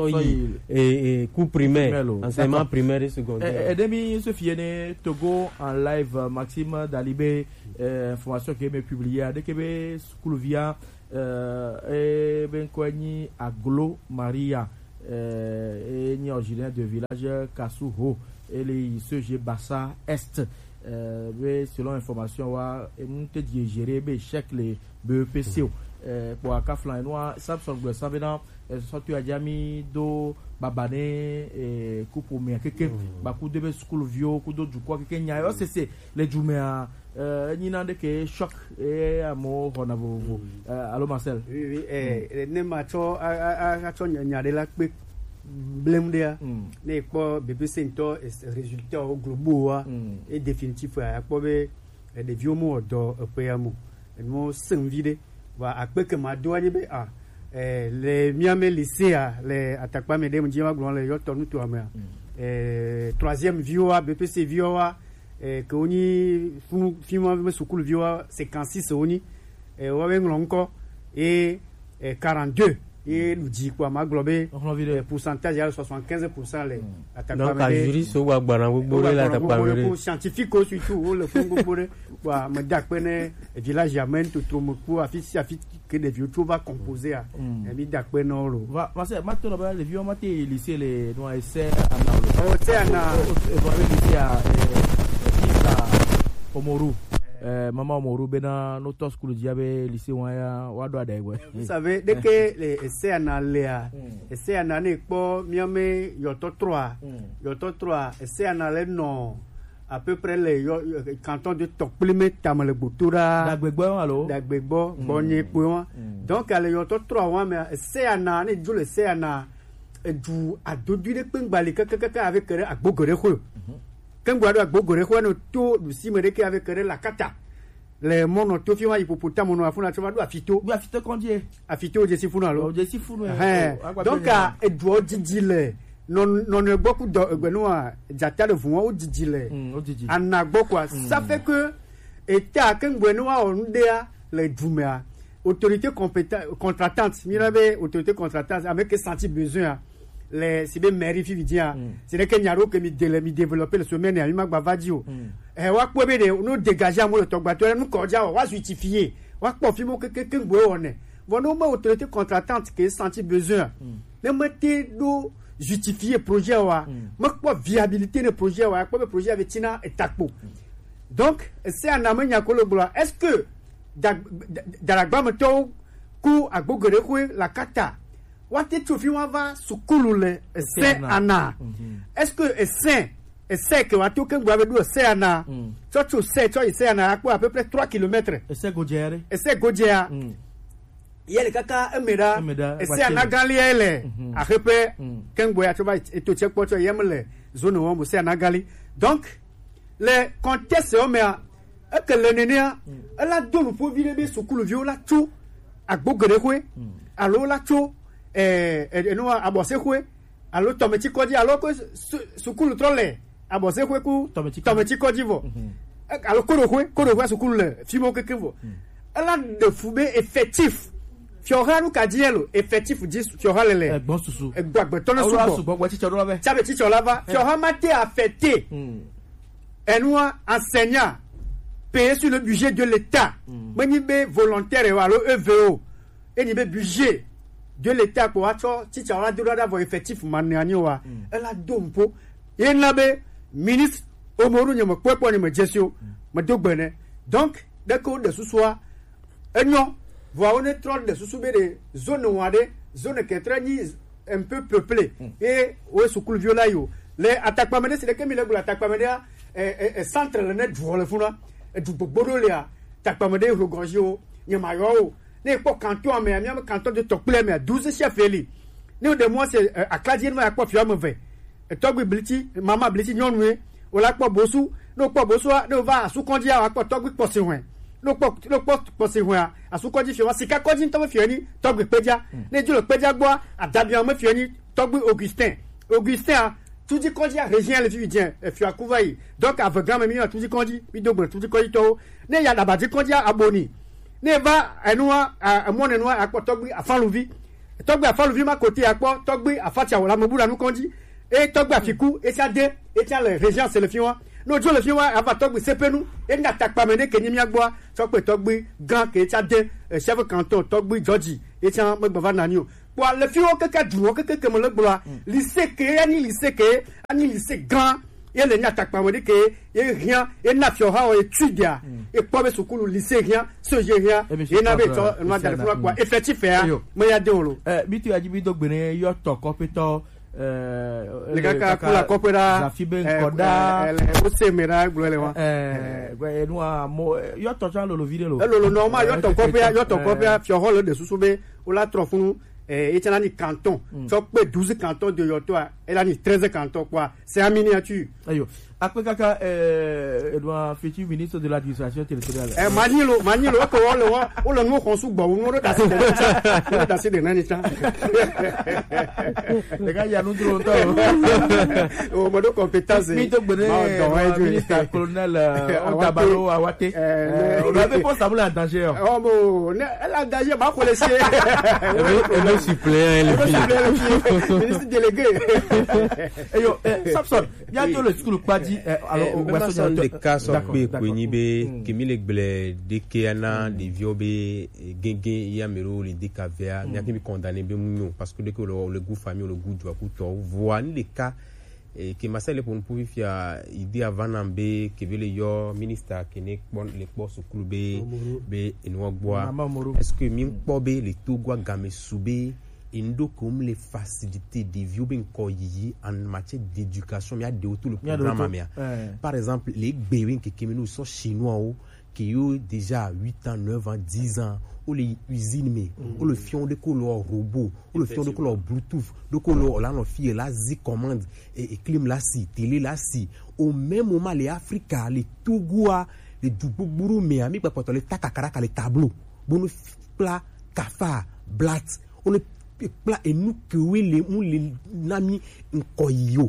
et, et ku primaire, enseignement primaire et secondaire. Edemi se fiene Togo en live, Maxime Dalibé, euh, information qui est publiée à D K B School via euh, et ben quoi ni Aglo Maria, euh, et ni originaire de village Kasuho, et les C G Bassa Est, euh, mais selon information wa et nous te dirigere be chèque les B E P C O. Euh, pour akaflan et noir Samson Gwe Savena, euh, sortu a diami do babane, euh, coupe au mien keke, baku de be school vio, kudo du quoi keke nya, c'est c'est les jumea. Euh, nyina ɖe ke choc, eh, amo xɔna vovovo. Euh, alo Marcel. Oui, oui, eh, ne ma tsɔ a a a tsɔ nya nya ɖe la kpe blem ɖea, ne kpɔ B P C ŋutɔ, eh, résultat wo global wa, et définitif a kpɔ be, eh, ɖeviwo mo dɔ eƒe ya mo. Enu sẽŋvi ɖe. Wa akpe ke ma do anyi be, ah, eh, le mia me lycée a, le atakpa me ɖe mu dzi wa gblɔ le yɔtɔ nuto amea. Eh, troisième viwo wa, B P C viwo wa, eh, ke wonyi funu fi ma be sukulu viwo cinquante-six wonyi. Eh, wo be ŋlɔ ŋkɔ, eh, eh, quarante-deux ye ɖu dzi kpɔ ma gblɔ be, eh, pourcentage ya soixante-quinze pour cent le atakpa. Donc me ɖe ajuri so wa gbana gbogbo le atakpa me ɖe. Scientifique surtout wo le fun gbogbo ɖe. Wa me da kpe ne village ya me to tro me ku afi si afi ke ɖeviwo tso va composer a. Eh, mi da kpe na wo lo. Va, va se ma to na ba ɖeviwo ma te lycée le no ese ana lo. Oh, se ana. O, o, o, o, lycée a, eh, eh, fils a Omoru. Eh, maman Omoru bena no to school dia be lycée wa ya wa do ada egbe. Vous savez, dès que les essais ana lea, essais ana ne kpɔ mia me yɔtɔ trois, yɔtɔ trois, essais ana le nɔ à peu près le yɔ, yɔ, canton de Tɔkpli me tame le gboto ɖa. Dagbegbɔ alo? Dagbegbɔ, gbɔnye kpoe wa. Donc, ale yɔtɔ trois wa me, essais ana, ne dzo le essais ana, edu adodui ɖe kpe ŋgbali kakakaka avec ɖe agbo geɖe xo. Ke ŋgba ɖo agbo geɖe xo, ne to ɖusi me ɖe ke avec ɖe lakata. Le mɔnɔ to fi wa yi popo ta mɔnɔ afuna tsɔ va ɖo afito. Ɖo afito kɔndie. Afito dze si funu alo? Dze si funu. Donc, a, eduɔ didi le. Nɔ, nɔ, nɔ gbɔ ku dɔ, egbe nu wa, dzata le vu wa, wo didi le. Mm, wo didi. Ana gbɔ quoi. Ça fait que, eta ke ŋgbe nu wa wɔ nu ɖea le du mea, autorité compétente, contratante, mi na be autorité contratante, avec senti besoin, a, le, si be mairie fi vidia, c'est que nya ɖo ke mi de le, mi développer le semaine, a, mi ma gba va di o. Eh, wa kpɔ be ɖe, no dégager amewo le tɔgbatɔ, nu kɔ dza wa, wa justifier, wa kpɔ fi mo ke, ke, ke ŋgbe wɔ ne. Vɔ ne wome autorité contratante ke senti besoin, ne mete ɖo justifier projet wa, mekpɔ viabilité ne projet wa, kpɔ be projet be tina etakpo. Donc, c'est un amenyakolo gblɔ. Est-ce que da- da- daragbametɔwo ku agbo geɖe xwe lakata, woate tso fi wa va sukulu le ese ana? Est-ce que ese ese ke wa to ke gba be ɖo ese ana? Tsɔ tso ese tsɔ yi ese ana akpɔ à peu près trois kilomètres. Ese godzea ɖe. Ese godzea. Ye le kaka eme ɖa. Ese ana gali ye le. Aheƒe kengbo ya tsɔ va eto tse kpɔ tsɔ ye me le zone wɔm ese ana gali. Donc, le contexte wo mea, eke le nenea, ela do nuƒo vi ɖe be sukuluviwo la tso agbo geɖe xwe, alo la tso, eh, eh, enu abɔse xwe, alo tɔmeti kɔdzi, alo ko su- sukulu trɔ le abɔse xwe ku tɔmeti kɔdzi vɔ. E- alo koɖo xwe, koɖo xwe sukulu le fi mo keke vɔ. Ela ɖe fu be effectif. Fiɔha nu ka dzi elo effectif dzi fiɔha le le. Egbɔ susu. Egbɔ agbetɔ ne sugbɔ. Sugbɔ gbɔ tsitsɔ ɖo be. Tsabe tsitsɔ la va. Fiɔha ma te affecté. Enua enseignant payé sur le budget de l'État. Menyi be volontaire alo E V O. Enyi be budget de l'État kpo atsɔ tsitsa wa do ɖa vɔ effectif ma ne anyi wa. Ela do mpo. Ye na be ministre Omoru nye me kpɔe kpɔ nye me dzesi o. Me do gbe ne. Donc, ɖe ke wo ɖe susua, enyɔ, vɔa wo ne trɔ ɖe susu be ɖe zone wa ɖe, zone kɛtrɛ nyi un peu peuplé. Ye wo sukuluviwo la yo. Le atakpa me ɖe si ɖe ke mi le gblɔ atakpa me ɖea, e, e, e, centre le ne duɔ le funa. Edu gbogbo ɖo lea, takpa me ɖe hloganjiwo, nye ma yɔ wo. Ne kpɔ canton me, mi ame canton de tɔkple me, douze chefs élus. Ne de moi c'est, euh, akladzi ne va kpɔ fiɔ me ve. Etɔgbi blitsi, mama blitsi nyɔnue, o la kpɔ bosu, ne o kpɔ bosua, ne o va asu kɔndzi a, wa kpɔ tɔgbi kpɔ si hwɛ. Ɖo kpɔ ɖo kpɔ kpɔ se hwɛa, asu kɔdzi fiɔ wa sika kɔdzi ŋutɔ me fiɔ ni tɔgbe kpedza. Ne dzo le kpedza gbɔa, adabia me fiɔ ni tɔgbe Augustin. Augustin a, tudi kɔdzi a région le fifi dien, e fiɔ aku va yi. Donc avegã me mi yɔ tudi kɔdzi, mi do gbe tudi kɔdzi tɔwo. Ne ya daba di kɔdzi a aboni. Ne va enua, emɔ ne nua akpɔ tɔgbe Afaluvi. Tɔgbe Afaluvi ma kote akpɔ tɔgbe Afatia wala me bu la nu kɔdzi. E tɔgbe Afiku, e tia de, e tia le région se le fi wa. No dzo le fi wa ava tɔgbe Sepenu, e na takpa me ne ke nyi mia gbɔa, tɔgbe tɔgbe gan ke e tia de, eh, chef canton tɔgbe George, e tia me gbava nani o. Kpɔ le fi wo keke du wo keke ke me le gbɔa, lycée ke ani lycée ke, ani lycée gan, ye le nya takpa me ne ke, ye hiã, ye na fiɔ ha o ye tu dia, ye kpɔ be sukulu lycée hiã, so ye hiã, ye na be tɔ, no da le fi wa kpɔ, effectif ya, me ya de o lo. Eh, bitu ya dzi bi do gbe ne yɔ tɔ kɔƒetɔ. Le kaka kula kɔƒe ɖa. Zafi be ŋkɔ ɖa. Wose me ɖa gblɔ le wa. Enu amo yɔ tɔ tsã lolo vi ɖe lo. Elolo nɔ ma yɔ tɔ kɔƒea, yɔ tɔ kɔƒea fiɔ hɔ le ɖe susu be wola trɔ funu. Etsana ni canton tsɔ kpe douze canton de yɔtɔa, ela ni treize canton kpɔa, c'est en miniature. Ayo. Akpe kaka, eh, Edouard Fetchi, ministre de l'administration territoriale. Eh, Manilo, Manilo, eke wo le wo, wo le nuwo xɔm sugbɔ, wo nuwo ɖo dasi de nani tsã, wo ɖo dasi de nani tsã. Ɖeka ya nu dro ŋutɔ o. O, mo ɖo compétence. Mi do gbe ne, ma dɔ wa ju. Ministre colonel, eh, Awate. Odabalo Awate. Eh, o la be poste amu le en danger o. Oh, bon, ne, elle a danger, ma ko le se. Ebe, ebe suppléant, le fille. Ministre délégué. Eyo, eh, Samson. Mía do le sukulu kpa dzi, eh, alo, eh, o, be ma sɔ ɖeka sɔ gbe ko nyi be, ke mi le gblẽ ɖeke ana ɖeviwo be, eh, gege ya me ɖo le deka vea, mía ke mi condamné be mu nyo, parce que ɖeke le, le gu famille, le gu dua ku tɔ, voa ni ɖeka, eh, ke ma sa le ponu pu fifia, idée ava na be, ke be le yɔ ministre ke ne kpɔ, le kpɔ sukulu be, be enu gbɔa. Est-ce que mi kpɔ be le Togo game su be, Enu ɖo ke wo le faciliter ɖeviwo be ŋkɔ yiyi en matière d'éducation, mía ɖewo to le programme mea. Par exemple, le gbe be ŋkeke me nu sɔ chinois wo, ke yo déjà huit ans, neuf ans, dix ans, wo le usine me, wo le fiɔ ɖe ko le robot, wo le fiɔ ɖe ko le Bluetooth, ɖe ko le la nɔ fi la zi commande, et, et clim la si, télé la si. Au même moment, le Africa, le Togo a, le du gbogbo ɖo mea, mi kpakpatɔ le ta kakaraka le tableau, bo no kpla kafa, blat, wo le kpla enu kewo le mu le na mi ŋkɔ yi o.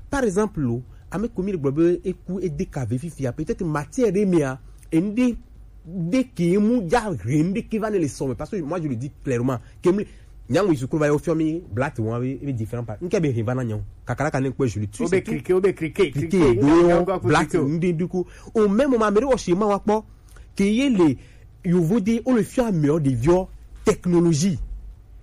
Par exemple, o, ame ko mi le gblɔ be eku ede ka ve fifia, peut-être matière ɖe mea, enu ɖe, ɖe ke mu ja he enu ɖe ke va ne le sɔ me, parce que moi je le dis clairement, ke mu le, nyaŋu yi sukulu va yi wo fiɔ mi blat wa be, be différent pa. Ŋke be he va na nyaŋu. Kakaraka ne kpɔ je le tue. Obe krike, obe krike, krike, krike, do blat ŋde du ko. Au même moment, ame ɖe wɔ chez moi wa kpɔ, ke ye le, yovo de, wo le fiɔ amewo ɖeviwo technologie.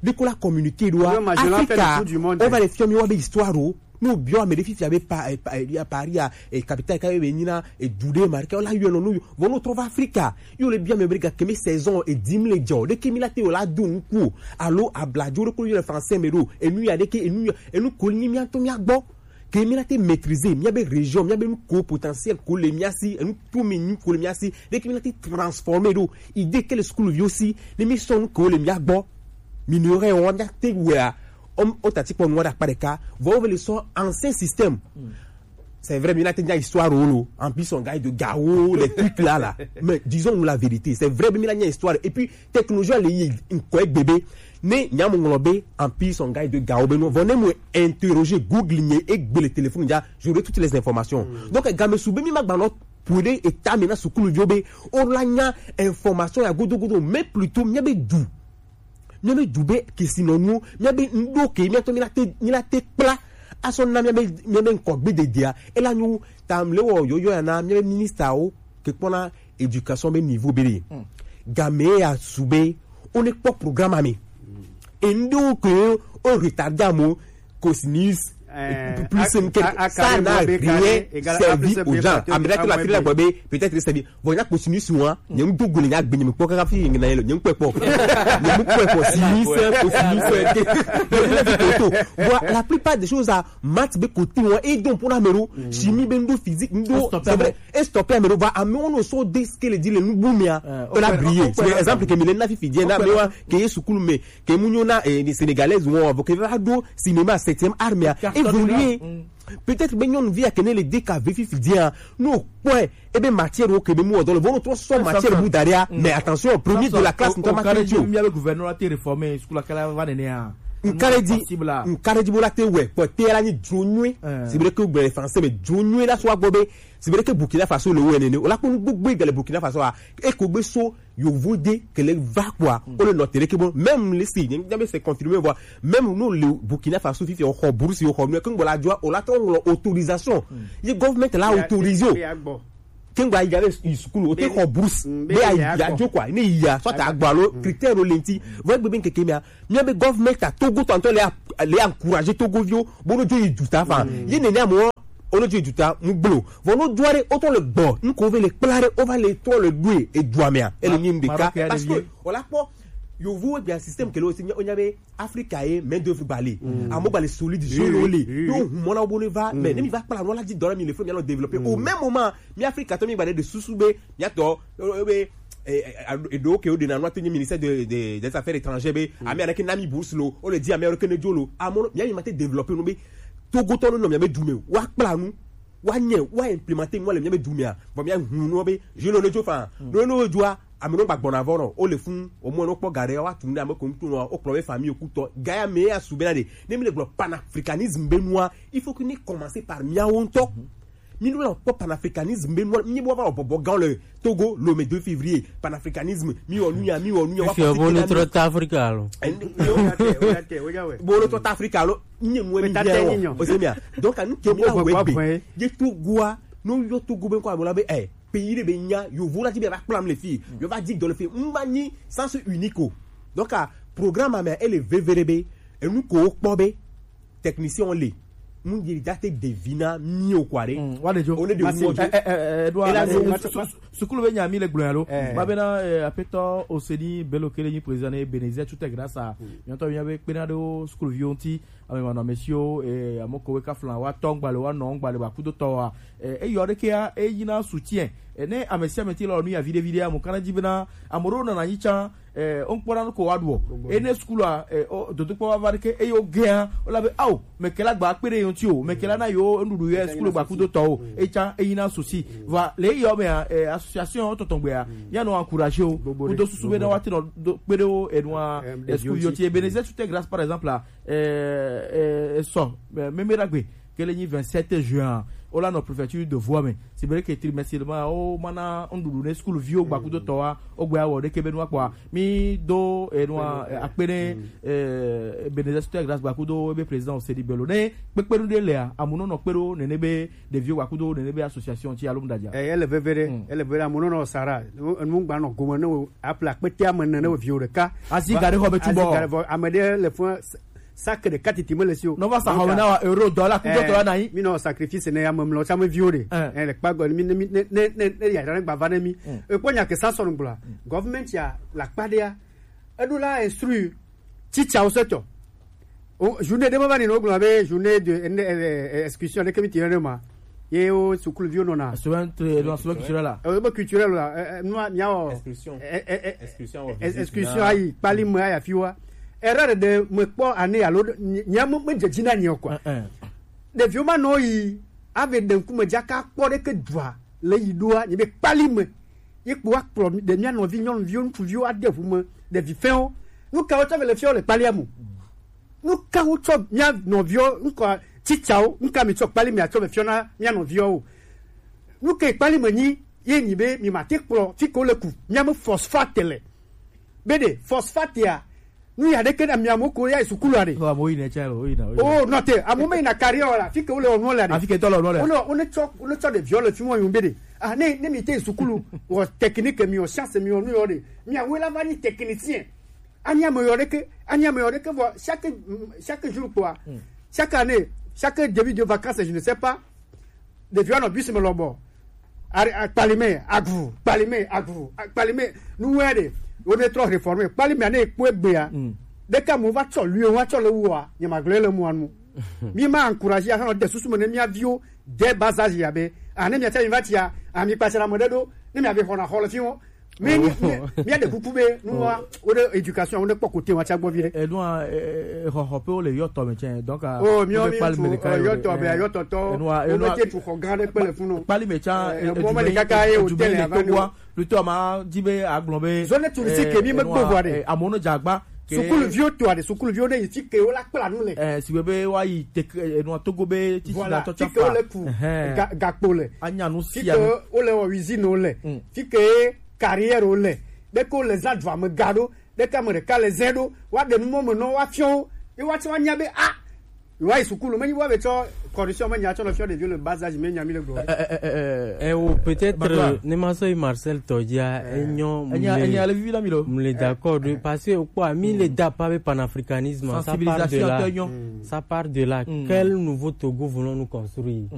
Ɖe ko la communiquer ɖoa, Africa, wo va le fiɔ mi wa be histoire o. No biɔ ame ɖe fifia be pa, eh, pa, eh, Paris a, eh, capitale ka be nyina, eh, du ɖe ma, ke wo la yɔ no, no, vɔ no trɔ va Africa. Yo le biɔ ame be ga ke mi saison e dim le jɔ. Ɖe ke mi la te wo la do nuku o. Alo abladzo ɖe ko yɔ le français me ɖo. Enu ya ɖe ke, enu ya, enu ko ni mi ato mi agbɔ. Ke mi la te maîtriser, mía be région, mía be nu ko potentiel ko le mía si, enu to mi nyi ko le mía si, ɖe ke mi la te transformer ɖo, idée ke le sukuluviwo si, ne mi sɔ nu ko le mía gbɔ, mi ne yɔ wa mía te wea, o, o tati kpɔ nua ɖe akpa ɖeka, vɔ wo ve le sɔ ancien système. C'est vrai, mi la te nya histoire o lo, en plus on gagne de gawo, les trucs là, là. Mais disons-nous la vérité, c'est vrai, mi la nya histoire. Et puis, technologie le yi ŋkɔ egbe be, ne nyamu ŋlɔ be, en plus on gagne de gawo be no. Vɔ ne mu interroger Google nye egbe le téléphone ja, j'aurai toutes les informations. Donc, game su be mi ma gba nɔ pu ɖe eta me na sukuluviwo be, o la nya information ya godo godo, mais plutôt mía be du. Mía be du be kesinɔnuwo, mía be ŋɖo ke, mía tɔ mi la te, mi la te kpla. Asɔ na mía be, mía be ŋkɔ gbe dedea, e la nyo, ta mle wɔ yɔyɔ ya na mía be ministre wo, ke kpɔna éducation be niveau be ɖe. Game ya su be, wo ne kpɔ programme me. Enu ɖewo ke o retardé amo, cosinus, plus m quelque, ça n'a rien servi aux gens. Ame ɖe te la fi la gbɔ be, peut-être servi. Vɔ nya cosinus wa, nye ŋdo gole nya gbe nye me kpɔ kaka fi na yelo, nye ŋkpɛ kpɔ. Nye ŋkpɛ kpɔ sinus, cosinus, ke. Bon, la plupart des choses à maths be côté wa, et donc pour la mero, chimie be ŋdo, physique ŋdo, c'est vrai. E stop ya me ɖo va, amewo nɔ sɔ de ce que le dit le nubu mea, e la briller. C'est exemple ke mi le na fifi die na me wa ke ye sukulu me, ke mu nyo na, eh, les Sénégalaises wo, vo ke va ɖo cinéma septième art mea. Évoluer. Peut-être be nyɔnuvi ya kene le D K V fifi dia, no kpɔe, ebe matière wo ke be mu ɔdɔ le, vo no trɔ sɔ matière bu da ɖea, mais attention, premier de la classe ŋutɔ ma ke tso. Mia be gouverneur la te réformer, school la kala va nene ya. Nkare di, nkare di bo la te wɛ, kpɔ te la ni dro nyuie. Si be ke gbe français, mais dro nyuie la so wa gbɔ be, si be ke Burkina Faso le wo nene, o la ko nu gbogbo gale Burkina Faso a, e ko gbe so, yovo de ke le va kpɔa, o le nɔ te ɖe ke bɔ, même le si, nye be c'est confirmé, voilà. Même nous, le Burkina Faso, fifi, o xɔ bourse, o xɔ nu, ke ŋgbɔ la joa, o la tɔ ŋlɔ autorisation. Ye government la autorisé o. Ke ŋgbɔ ayi gabe yi sukulu, o te xɔ bourse, be ayi ya jo quoi, ne yi ya, soit agbɔ alo critère o lenti. Vɔ egbe be nkeke mia, mia be government a Togo tɔntɔ le a, le encourager Togo viwo, bo no jo yi juta fa. Ye nene amewo, o no jo yi juta, mu gblo. Vɔ no jo are, o tɔ le gbɔ, n ko ve le kpla are, o va le tɔ le ɖoe, e dua mea, e le nyi ɖeka. Parce que, o la kpɔ, yovo egbe système ke le o si, o nya be, Afrika ye main d'œuvre ba le. Amo ba le solide, jeune wo le. Donc, mon abo ne va, mais ne mi va kpla no la di dɔla mi le fo mi alɔ développer. Au même moment, mi Afrika tɔ mi ba de susu be, mi atɔ, e be, e do ke o de na no to ni ministère de, de, des affaires étrangères be, ami ana ke na mi bourse lo, o le di ami o ke ne jo lo. Amo mi ami ma te développer no be, Togo tɔ no mi be du me. Wa kpla nu, wa nye, wa implémenter no le mi be du me a. Bon mi a hu no be, je lo le jo fa. No no jo a, ame no gba gbɔna vɔ nɔ, o le fun, o mɔ no kpɔ ga ɖe, wa tu nu ɖe ame ko ŋutu nɔ, o kplɔ be famille o kutɔ, ga ya me ya su be na ɖe, ne mi le gblɔ panafricanisme be nua, il faut que ni commencer par miawo ŋutɔ. Mi no la kpɔ panafricanisme be nua, mi bo va wɔ bɔbɔ gan le Togo, le deux février, panafricanisme, mi wɔ nu ya, mi wɔ nu ya, wa Fifi, bo ni trɔ ta Afrika lo. Bo lo trɔ ta Afrika lo, nye nua mi bia wɔ. O se mia. Donc, anu ke mi la wɛ be, je Togo a, no yɔ Togo be ko ame la be, eh, pays ɖe be nya, yovo la ti be va kplam le fi, yo va di dɔ le fi, n va nyi sens unique o. Donc, a programme ame ele veve ɖe be, enu ko kpɔ be, technicien o le, mu yi da te devi na mi o quoi ɖe. Wa de jo. O le de mu o jo. Eh, eh, eh, Edouard, e la eh, so ma- ma- sukulu be nya mi le gblɔ ya lo. Ma be na, eh, apetɔ Oseni Bello ke le nyi président ne Bénézé Tutek grâce à, mi ŋutɔ mi be kpena ɖo sukulu viwo ŋuti, ame manɔ ame siwo, eh, ame kowe ka flan wa tɔ ŋgba le wa nɔ ŋgba le ba kudo tɔ wa. Eh, eyɔ ɖe ke ya, e yi na soutien. Eh, ne ame sia ame ti lɔ nu ya viɖe viɖe, amo kana dzi be na, amo ɖewo nɔna anyi tsã, eh, o ŋkpɔna nu ko wa ɖuɔ. Ene sukulu a, eh, o, dodokpɔ wa va ɖe ke, eye o gɛa, o la be, ao, meke la gba kpe ɖe yo ŋuti o, meke la na yo nuɖuɖu yɛ sukulu gba kudo tɔ o, e tsã, e yi na souci. Va, le eyɔ mea, eh, association tɔtɔ gbea, mia nɔ encourager o, kudo susu be na wa te nɔ do, kpe ɖe o, enua, eh, sukulu yo ti, Ebenezer Tutek grâce, par exemple, la, eh, eh, sɔ, eh, Meme Dagbe, ke le nyi vingt-sept juin, o la nɔ préfecture de Voie me. Si be ke trimestriellement, o mana nuɖuɖu ne sukulu viwo gba kudo tɔ wa, o gbe awɔ ɖe ke be nua kpɔa. Mi do enua, eh, akpe ne, eh, Ebenezer Tutek grâce gba kudo ebe président Oseni Bello. Ne kpekpe nu ɖe lea, amu nɔ nɔ kpe ɖo nene be ɖeviwo gba kudo nene be association ti alo mu ɖadza. Eh, ele veve ɖe, ele veve ɖe, amu nɔ nɔ Sahara, nu gba nɔ gome ne o, apla kpete ame nene o viwo ɖeka. Asi ga ɖe xɔ be tubɔ. Asi ga ɖe vɔ, ame ɖe le fún sac ɖeka titi me le si o. Nova sa xɔ na wa euro, dollar, kudo tɔ la na yi. Mi nɔ sacrifice ne ame mlɔ tsame viwo ɖe. Eh, le kpa gɔ, mi ne, mi ne, ne, ne, ne ya ɖe gba va ne mi. E kpɔ nya ke sa sɔ nu gblɔa. Government ya la kpa ɖea. Eɖo la instruire teacher wo setɔ. O, journée ɖe me va ni no gblɔ be journée de, eh, eh, eh, excursion ɖe ke mi ti ne ma. Ye wo sukuluviwo nɔna. Semaine tre-, non, semaine culturelle la. Eh, be culturelle la, eh, eh, nua, mia wɔ. Excursion. Eh, eh, eh, excursion wɔ, eh, visite excursion na. Ayi, kpali me ayi afi wa. Erreur ɖe me kpɔ ane alo ɖe, nye, nye me, me dze dzi na nye o quoi. Eh, eh. Ɖeviwo ma nɔ yi, ave ɖe ŋkume dzaka kpɔ ɖe ke dua le yi ɖoa, nye be kpali me. Ye kpo wa kplɔ mi, ɖe mia nɔvi nyɔnuviwo, ŋutsuviwo ade ʋu me, ɖevi fɛnwo. Nu ka wotsɔ ve le fiɔ le kpalia mu? Nu ka wotsɔ mia nɔviwo, ŋkɔ titsawo, nu ka mi tsɔ kpali mi atsɔ ve fiɔ na mia nɔviwo o? Nu ke kpali me nyi, ye nyi be mi ma te kplɔ fi ke wo le ku, mia me phosphate le. Be ɖe phosphate a, nu ya ɖe ke na mia mo ko ya sukulu a ɖe. Oh, amo yi ne tsɛ lo, yi na, yi na. Oh, nɔ te, amo me yi na carrière la, fi ke wo le ɔnu le a ɖe. Afi ke tɔ le ɔnu le. Wo ne, wo ne tsɔ, wo ne tsɔ ɖeviwo le fi mo yun be ɖe. Ah, ne, ne mi te sukulu, wɔ technique mi, wɔ science mi, wɔ nu yɔ ɖe. Mi awo la va nyi technicien. Anyi ame yɔ ɖeke, anyi ame yɔ ɖeke vɔ chaque, chaque jour kpɔa, chaque année, chaque début de vacances, je ne sais pas, ɖeviwo nɔ bus me lɔbɔ. Ari, a, kpali me, agu, kpali me, agu, a, kpali me. Nu wɛ ɖe, wo ne trɔ réformer. Kpali me ane kpɔe gbea. Ɖeka mo va tsɔ lui, wa tsɔ le wua, nye ma gblɔe le mua nu. Mi ma encourager a, nɔ de susu me ne mia viwo, dès bas âge ya be. A, ne mia tsa mi va tsia, a, mi kpatsa na me ɖe ɖo, ne mia be xɔna xɔ le fi wo. Mais mi mi mi a de kuku be nu wa o de éducation o de pɔ kote wa tsa gbɔ vi de. Enua, xɔxɔ pe wo le yɔtɔ me tsɛ, donc a oh mi o mi kpali me le ka yɔtɔ be yɔtɔ tɔ enua o enua me te tu xɔ gã de kpele funu kpali me tsã. Mo me le kaka ye o tele ava ni wa plutôt ma di be agblɔ be zone touristique mi me gbɔ vɔ de amono jagba sukulu viwo to ade sukulu viwo ne yi ti ke wo la kpla nu le eh si be be wa yi tek enua togo be titi na voilà tɔ ti ke wo le ku ga- gakpo le anya nu ti sia ke nu wo le wɔ usine wo le ti ke carrière wo le de ko le za dua me ga do de ka me de ka le ze do wa de nu mo me no wa fiɔ ye wa ti wa nya be ah ye wa yi sukulu me yi wa be tsɔ corruption me nya tsɔ no fiɔ de vieux le bas âge me nya mi le gɔ. Eh, oh, peut-être Bakla. Ne ma so Marcel Todia enyo enya enya le vivi la mi lo mu le d'accord de parce que quoi mi le da pas be panafricanisme ça part de sensibilisation là to enyo ça part de là quel nouveau Togo voulons-nous construire